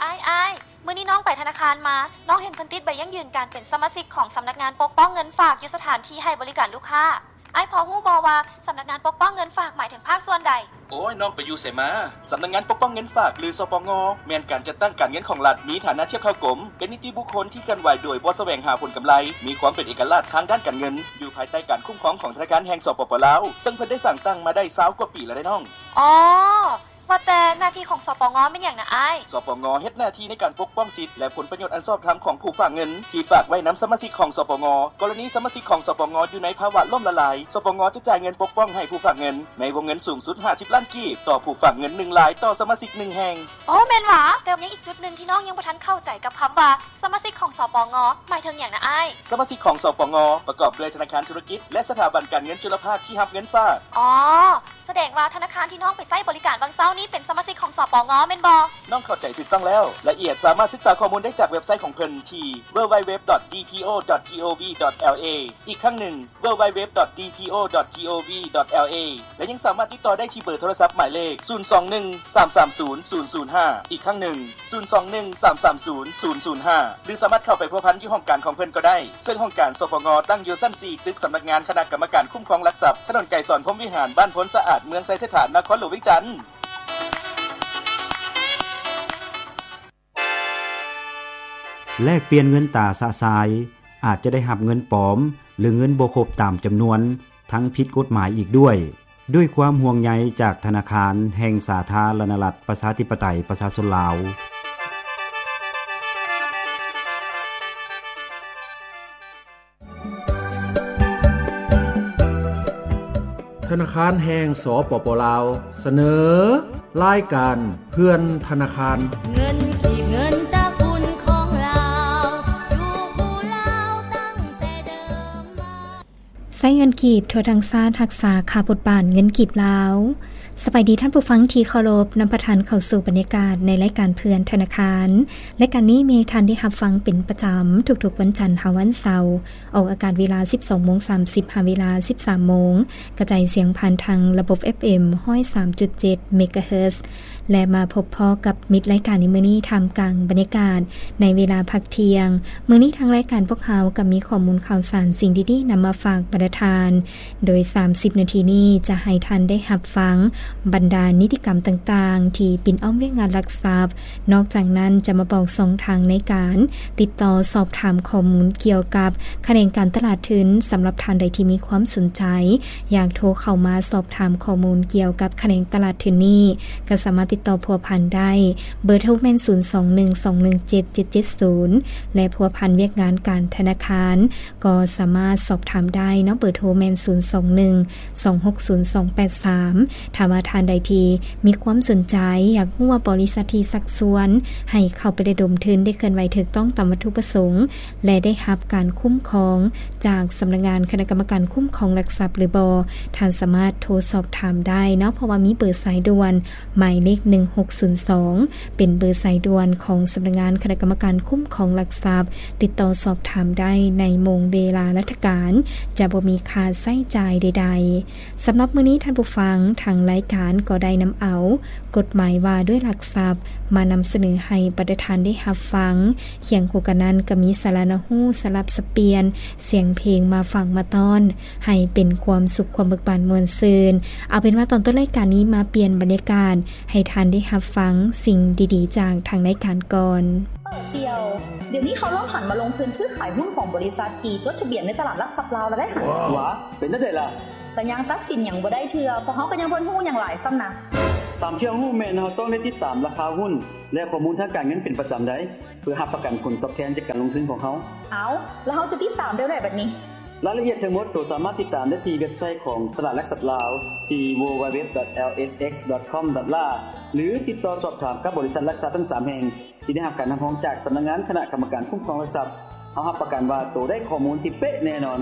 ອ້າຍ, ອ້າຍ, ມື້ນີ້ນ້ອງໄປທະນາຄານມາ, ນ້ອງເຫັນເພິ່ນຕິດໃບຢັ້ງຢືນການເປັນສະມາຊິກຂອງສຳນັກງານປົກປ້ອງເງິນຝາກຢູ່ສະຖານທີ່ໃຫ້ບໍລິການລູກຄ້າ. ອ້າຍພໍຮູ້ບໍ່ວ່າສຳນັກງານປົກປ້ອງເງິນຝາກໝາຍເຖິງພາກສ່ວນໃດ? ໂອ້ຍ, ນ້ອງໄປຢູ່ໃສມາ? ສຳນັກງານປົກປ້ອງເງິນຝາກ ຫຼື ສປງ ແມ່ນການຈັດຕັ້ງການເງິນຂອງລັດ, ມີຖານະທຽບເທົ່າກົມ, ເປັນນິຕິບຸກຄົນທີ່ເຄື່ອນໄຫວໂດຍບໍ່ສະແຫວງຫາຜົນກຳໄລ, ມີຄວາມເປັນເອກະລາດທາງດ້ານການເງິນ, ຢູ່ພາຍໃຕ້ການຄຸ້ມຄອງຂອງທະນາຄານແຫ່ງ ສປປ ລາວ, ເຊິ່ງເພິ່ນໄດ້ສ້າງຕັ້ງມາໄດ້ຊາວກວ່າປີແລ້ວເດ້ນ້ອງ. ອໍ ວ່າແຕ່ໜ້າທີ່ຂອງ ສປງ ແມ່ນຫຍັງນະອ້າຍ? ສປງ ເຮັດໜ້າທີ່ໃນການປົກປ້ອງສິດ ແລະ ຜົນປະໂຫຍດອັນຊອບທຳຂອງຜູ້ຝາກເງິນທີ່ຝາກໄວ້ນຳສະມາຊິກຂອງ ສປງ. ກໍລະນີສະມາຊິກຂອງ ສປງ ຢູ່ໃນພາວະລົ້ມລະລາຍ, ສປງ ຈະຈ່າຍເງິນປົກປ້ອງໃຫ້ຜູ້ຝາກເງິນໃນວົງເງິນສູງສຸດຫ້າສິບລ້ານກີບ ຕໍ່ຜູ້ຝາກເງິນໜຶ່ງລາຍຕໍ່ສະມາຊິກໜຶ່ງແຫ່ງ. ໂອ້ ແມ່ນຫວາ? ແຕ່ຍັງອີກຈຸດໜຶ່ງທີ່ນ້ອງຍັງບໍ່ທັນເຂົ້າໃຈກັບຄຳວ່າ ສະມາຊິກຂອງ ສປງ ໝາຍເຖິງຫຍັງນະອ້າຍ? ສະມາຊິກຂອງ ສປງ ປະກອບດ້ວຍທະນາຄານທຸລະກິດ ແລະ ສະຖາບັນການເງິນຈຸລະພາກທີ່ຮັບເງິນຝາກ. ອໍ ສະແດງວ່າທະນາຄານທີ່ນ້ອງໄປໃຊ້ບໍລິການຫວ່າງເຊົ້ານີ້ເປັນສະມາຊິກຂອງ ສປງ ແມ່ນບໍ່? ນ້ອງເຂົ້າໃຈຖືກຕ້ອງແລ້ວ. ລະອຽດສາມາດສຶກສາຂໍ້ມູນໄດ້ຈາກເວັບໄຊຂອງເພິ່ນທີ່ www.dpo.gov.la. ອີກຄັ້ງໜຶ່ງ www.dpo.gov.la ແລະ ຍັງສາມາດຕິດຕໍ່ໄດ້ທີ່ເບີໂທລະສັບໝາຍເລກ ສູນສອງໜຶ່ງ ສາມສາມສູນ ສູນສູນຫ້າ. ອີກຄັ້ງໜຶ່ງ ສູນສອງໜຶ່ງ ສາມສາມສູນ ສູນສູນຫ້າ ຫຼື ສາມາດເຂົ້າໄປພົວພັນຢູ່ຫ້ອງການຂອງເພິ່ນກໍໄດ້, ເຊິ່ງຫ້ອງການ ສປງ ຕັ້ງຢູ່ຊັ້ນສີ່ ຕຶກສຳນັກງານຄະນະກຳມະການຄຸ້ມຄອງຫຼັກຊັບ, ຖະໜົນໄກສອນ ພົມວິຫານ, ບ້ານໂພນສະອາດ, ເມືອງໄຊເສດຖາ, ນະຄອນຫຼວງວຽງຈັນ. ແລກປ່ຽນເງິນຕາຊະຊາຍ, ອາດຈະໄດ້ຮັບເງິນປອມ ຫຼື ເງິນບໍ່ຄົບຕາມຈຳນວນ, ທັງຜິດກົດໝາຍອີກດ້ວຍ. ດ້ວຍຄວາມຫ່ວງໃຍຈາກທະນາຄານແຫ່ງສາທາລະນະລັດ ປະຊາທິປະໄຕ ປະຊາຊົນລາວ. ທະນາຄານແຫ່ງ ສປປ ລາວ ສະເໜີ ລາຍການເພື່ອນທະນາຄານ. ເງິນກີບ ເງິນຕະກຸນຂອງລາວ ຢູ່ຄູ່ລາວຕັ້ງແຕ່ເດີມມາ. ໃຊ້ເງິນກີບທົ່ວທັງຊາດ ຮັກສາຄ່າບົດບາດເງິນກີບລາວ. ສະບາຍດີທ່ານຜູ້ຟັງທີ່ເຄົາລົບ, ນຳພາທ່ານເຂົ້າສູ່ບັນຍາກາດໃນລາຍການເພື່ອນທະນາຄານ. ລາຍການນີ້ມີໃຫ້ທ່ານໄດ້ຮັບຟັງເປັນປະຈຳທຸກໆວັນຈັນຫາວັນເສົາ, ອອກອາກາດເວລາສິບສອງໂມງສາມສິບ ຫາເວລາສິບສາມໂມງ, ກະຈາຍສຽງຜ່ານທາງລະບົບ ເອັຟເອັມ ຮ້ອຍສາມຈຸດເຈັດ ເມກາເຮີດ. ແລະ ມາພົບພໍ້ກັບມິດລາຍການໃນມື້ນີ້ ທ່າມກາງບັນຍາກາດໃນເວລາພັກທ່ຽງ. ມື້ນີ້ທາງລາຍການພວກເຮົາກໍມີຂໍ້ມູນຂ່າວສານ, ສິ່ງດີໆນຳມາຝາກບັນດາທ່ານ, ໂດຍສາມສິບນາທີນີ້ຈະໃຫ້ທ່ານໄດ້ຮັບຟັງບັນດານິຕິກຳຕ່າງໆທີ່ປິ່ນອ້ອມວຽກງານຫຼັກຊັບ. ນອກຈາກນັ້ນຈະມາບອກຊ່ອງທາງໃນການຕິດຕໍ່ສອບຖາມຂໍ້ມູນກ່ຽວກັບຂະແໜງການຕະຫຼາດທຶນ. ສຳລັບທ່ານໃດທີ່ມີຄວາມສົນໃຈ ຢາກໂທເຂົ້າມາສອບຖາມຂໍ້ມູນກ່ຽວກັບຂະແໜງຕະຫຼາດທຶນນີ້ ກໍສາມາດຕິດຕໍ່ພົວພັນໄດ້. ເບີໂທແມ່ນ ສູນສອງໜຶ່ງ ສອງໜຶ່ງເຈັດ ເຈັດເຈັດສູນ ແລະ ພົວພັນວຽກງານການທະນາຄານ ກໍສາມາດສອບຖາມໄດ້ເນາະ. ເບີໂທແມ່ນ ສູນສອງໜຶ່ງ ສອງຫົກສູນ ສອງແປດສາມ. ຖ້າວ່າທ່ານໃດທີ່ມີຄວາມສົນໃຈ ຢາກຮູ້ວ່າບໍລິສັດທີ່ຊັກຊວນໃຫ້ເຂົ້າໄປລະດົມທຶນໄດ້ເຄື່ອນໄຫວຖືກຕ້ອງຕາມວັດຖຸປະສົງ ແລະ ໄດ້ຮັບການຄຸ້ມຄອງຈາກສຳນັກງານຄະນະກຳມະການຄຸ້ມຄອງຫຼັກຊັບຫຼືບໍ່, ທ່ານສາມາດໂທສອບຖາມໄດ້ເນາະ, ເພາະວ່າມີເບີສາຍດ່ວນ ໝາຍເລກ ໜຶ່ງຫົກສູນສອງ ເປັນເບີສາຍດ່ວນຂອງສຳນັກງານຄະນະກຳມະການຄຸ້ມຄອງຫຼັກຊັບ. ຕິດຕໍ່ສອບຖາມໄດ້ໃນໂມງເວລາລັດຖະການ, ຈະບໍ່ມີຄ່າໃຊ້ຈ່າຍໃດໆ. ສຳລັບມື້ນີ້ທ່ານຜູ້ຟັງ, ທາງລາຍການກໍໄດ້ນຳເອົາກົດໝາຍວ່າດ້ວຍຫຼັກຊັບ ມານຳສະເໜີໃຫ້ບັນດາທ່ານໄດ້ຮັບຟັງ. ຄຽງຄູ່ກັນນັ້ນກໍມີສາລະໜ້າຮູ້ ສະຫຼັບສັບປ່ຽນສຽງເພງມາຝາກມາຕ້ອນ ໃຫ້ເປັນຄວາມສຸກຄວາມເບີກບານມ່ວນຊື່ນ. ເອົາເປັນວ່າຕອນຕົ້ນລາຍການນີ້ມາປ່ຽນບັນຍາກາດໃຫ້ທ່ານໄດ້ຮັບຟັງສິ່ງດີໆຈາກທາງລາຍການກ່ອນ. ເປີດສ່ຽວ, ດຽວນີ້ເຂົາເລີ່ມຫັນມາລົງທຶນຊື້ຂາຍຫຸ້ນຂອງບໍລິສັດທີ່ຈົດທະບຽນໃນຕະຫຼາດຫຼັກຊັບລາວແລ້ວເດ້. ຫວາ ເປັນຈັ່ງໃດລະ? ກໍຍັງຕັດສິນຫຍັງບໍ່ໄດ້ເທື່ອ, ພວກເຮົາກໍຍັງບໍ່ທັນຮູ້ຫຍັງຫຼາຍຊ້ຳນະ. ຕາມທີ່ເຮົາຮູ້ແມ່ນເຮົາຕ້ອງໄດ້ຕິດຕາມລາຄາຫຸ້ນ ແລະ ຂໍ້ມູນທາງການເງິນເປັນປະຈຳໄດ໋ ເພື່ອຮັບປະກັນຜົນຕອບແທນຈາກການລົງທຶນຂອງເຮົາ. ເອົ້າ ແລ້ວເຮົາຈະຕິດຕາມໄດ້ແບບໃດບັດນີ້? ລາຍລະອຽດທັງໝົດໂຕສາມາດຕິດຕາມໄດ້ທີ່ເວັບໄຊຂອງຕະຫຼາດຫຼັກຊັບລາວ ທີ່ www.lsx.com.la ຫຼື ຕິດຕໍ່ສອບຖາມກັບບໍລິສັດຫຼັກຊັບທັງສາມແຫ່ງ ທີ່ໄດ້ຮັບການຮັບຮອງຈາກສຳນັກງານຄະນະກຳມະການຄຸ້ມຄອງຫຼັກຊັບ. ເຮົາຮັບປະກັນວ່າໂຕໄດ້ຂໍ້ມູນທີ່ເປະແນ່ນອນ.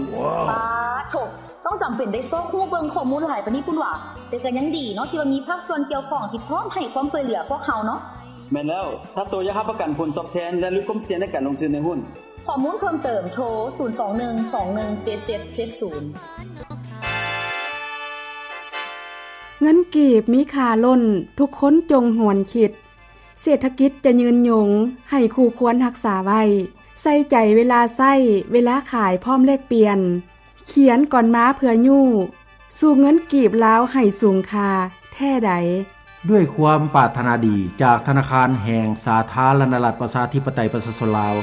ປາໂທ້ ຕ້ອງຈຳເປັນໄດ້ຊອກຮູ້ເບິ່ງຂໍ້ມູນຫຼາຍປານນີ້ພຸ້ນຫວາ? ແຕ່ກໍຍັງດີເນາະ ທີ່ວ່າມີພາກສ່ວນກ່ຽວຂ້ອງທີ່ພ້ອມໃຫ້ຄວາມຊ່ວຍເຫຼືອພວກເຮົາເນາະ. ແມ່ນແລ້ວ, ຖ້າໂຕຢາກຮັບປະກັນຜົນຕອບແທນ ແລະ ຫຼຸດຄວາມສ່ຽງໃນການລົງທຶນໃນຫຸ້ນ. ຂໍ້ມູນເພີ່ມເຕີມ ໂທ ສູນສອງໜຶ່ງ ສອງໜຶ່ງ ເຈັດເຈັດເຈັດສູນ. ເງິນກີບມີຄ່າລົ້ນ, ທຸກຄົນຈົ່ງຫວນຄິດ. ເສດຖະກິດຈະຍືນຍົງ, ໃຫ້ຄູ່ຄວນຮັກສາໄວ້. ໃສ່ໃຈເວລາໃຊ້, ເວລາຂາຍ ພ້ອມແລກປ່ຽນ. ຂຽນກ່ອນມາເພື່ອຍູ້, ສູ້ເງິນກີບລາວໃຫ້ສູງຄ່າແທ້ໃດ. ດ້ວຍຄວາມປາດຖະໜາດີຈາກທະນາຄານແຫ່ງສາທາລະນະລັດປະຊາທິປະໄຕປະຊາຊົນລາວ.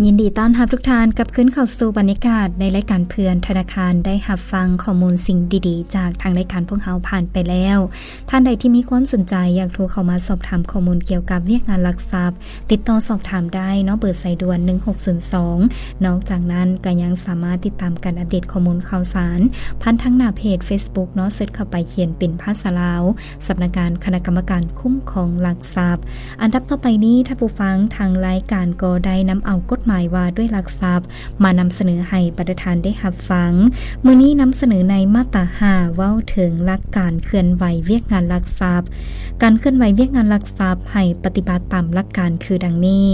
ຍິນດີຕ້ອນຮັບທຸກທ່ານກັບຄືນເຂົ້າສູ່ບັນຍາກາດໃນລາຍການເພື່ອນທະນາຄານ. ໄດ້ຮັບຟັງຂໍ້ມູນສິ່ງດີໆຈາກທາງລາຍການພວກເຮົາຜ່ານໄປແລ້ວ. ທ່ານໃດທີ່ມີຄວາມສົນໃຈຢາກໂທເຂົ້າມາສອບຖາມຂໍ້ມູນກ່ຽວກັບວຽກງານຫຼັກຊັບ, ຕິດຕໍ່ສອບຖາມໄດ້ເນາະ ເບີສາຍດ່ວນ ໜຶ່ງຫົກສູນສອງ. ນອກຈາກນັ້ນກໍຍັງສາມາດຕິດຕາມການອັບເດດຂໍ້ມູນຂ່າວສານ ຜ່ານທາງໜ້າເພຈເຟສບຸກເນາະ, ເສີດເຂົ້າໄປຂຽນເປັນພາສາລາວ ສຳນັກງານຄະນະກຳມະການຄຸ້ມຄອງຫຼັກຊັບ. ອັນດັບຕໍ່ໄປນີ້, ທ່ານຜູ້ຟັງ, ທາງລາຍການກໍໄດ້ນຳເອົາກົດໝາຍວ່າດ້ວຍຫຼັກຊັບ ມານຳສະເໜີໃຫ້ບັນດາທ່ານໄດ້ຮັບຟັງ. ມື້ນີ້ນຳສະເໜີໃນມາດຕາຫ້າ ເວົ້າເຖິງຫຼັກການເຄື່ອນໄຫວວຽກງານຫຼັກຊັບ. ການເຄື່ອນໄຫວວຽກງານຫຼັກຊັບໃຫ້ປະຕິບັດຕາມຫຼັກການຄືດັ່ງນີ້: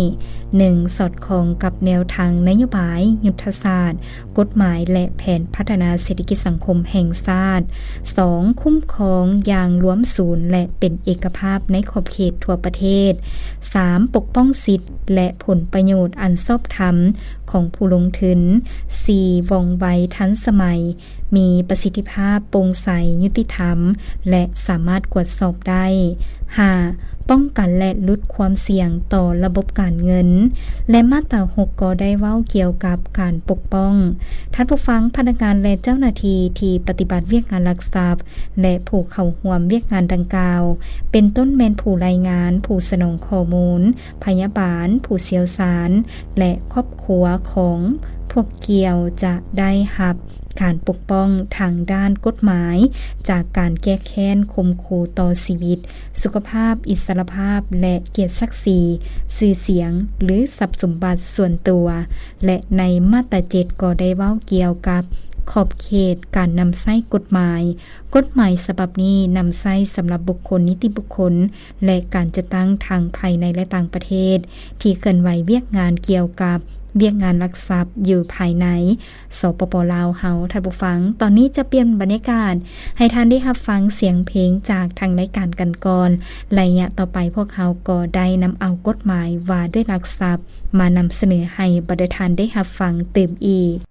ໜຶ່ງ ສອດຄ່ອງກັບແນວທາງນະໂຍບາຍ, ຍຸດທະສາດ, ກົດໝາຍ ແລະ ແຜນພັດທະນາເສດຖະກິດສັງຄົມແຫ່ງຊາດ. ສອງ ຄຸ້ມຄອງຢ່າງລວມສູນ ແລະ ເປັນເອກະພາບໃນຂອບເຂດທົ່ວປະເທດ. ສາມ ປົກປ້ອງສິດ ແລະ ຜົນປະໂຫຍດອັນຊອບທຳຂອງຜູ້ລົງທຶນ. ສີ່ ວ່ອງໄວ, ທັນສະໄໝ, ມີປະສິດທິພາບ, ໂປ່ງໃສ, ຍຸຕິທຳ ແລະ ສາມາດກວດສອບໄດ້. ຫ້າ ປ້ອງກັນ ແລະ ຫຼຸດຄວາມສ່ຽງຕໍ່ລະບົບການເງິນ. ແລະ ມາດຕາຫົກ ກໍໄດ້ເວົ້າກ່ຽວກັບການປົກປ້ອງ. ທ່ານຜູ້ຟັງ, ພະນັກງານ ແລະ ເຈົ້າໜ້າທີ່ທີ່ປະຕິບັດວຽກງານຫຼັກຊັບ ແລະ ຜູ້ເຂົ້າຮ່ວມວຽກງານດັ່ງກ່າວ ເປັນຕົ້ນແມ່ນຜູ້ລາຍງານ, ຜູ້ສະໜອງຂໍ້ມູນ, ພະຍາບານ, ຜູ້ຊ່ຽວຊານ ແລະ ຄອບຄົວຂອງພວກກ່ຽວ ຈະໄດ້ຮັບການປົກປ້ອງທາງດ້ານກົດໝາຍ ຈາກການແກ້ແຄ້ນຂົ່ມຂູ່ຕໍ່ຊີວິດ, ສຸຂະພາບ, ອິດສະຫຼະພາບ ແລະ ກຽດສັກສີ, ຊື່ສຽງ ຫຼື ຊັບສົມບັດສ່ວນຕົວ. ແລະ ໃນມາດຕາເຈັດ ກໍໄດ້ເວົ້າກ່ຽວກັບຂອບເຂດການນຳໃຊ້ກົດໝາຍ. ກົດໝາຍສະບັບນີ້ນຳໃຊ້ສຳລັບບຸກຄົນ, ນິຕິບຸກຄົນ ແລະ ການຈັດຕັ້ງທັງພາຍໃນ ແລະ ຕ່າງປະເທດ ທີ່ເຄື່ອນໄຫວວຽກງານກ່ຽວກັບວຽກງານຫຼັກຊັບຢູ່ພາຍໃນ ສປປ ລາວເຮົາ. ທ່ານຜູ້ຟັງ, ຕອນນີ້ຈະປ່ຽນບັນຍາກາດໃຫ້ທ່ານໄດ້ຮັບຟັງສຽງເພງຈາກທາງລາຍການກັນກ່ອນ. ໄລຍະຕໍ່ໄປພວກເຮົາກໍໄດ້ນຳເອົາກົດໝາຍວ່າດ້ວຍຫຼັກຊັບ ມານຳສະເໜີໃຫ້ບັນດາທ່ານໄດ້ຮັບຟັງຕື່ມອີກ.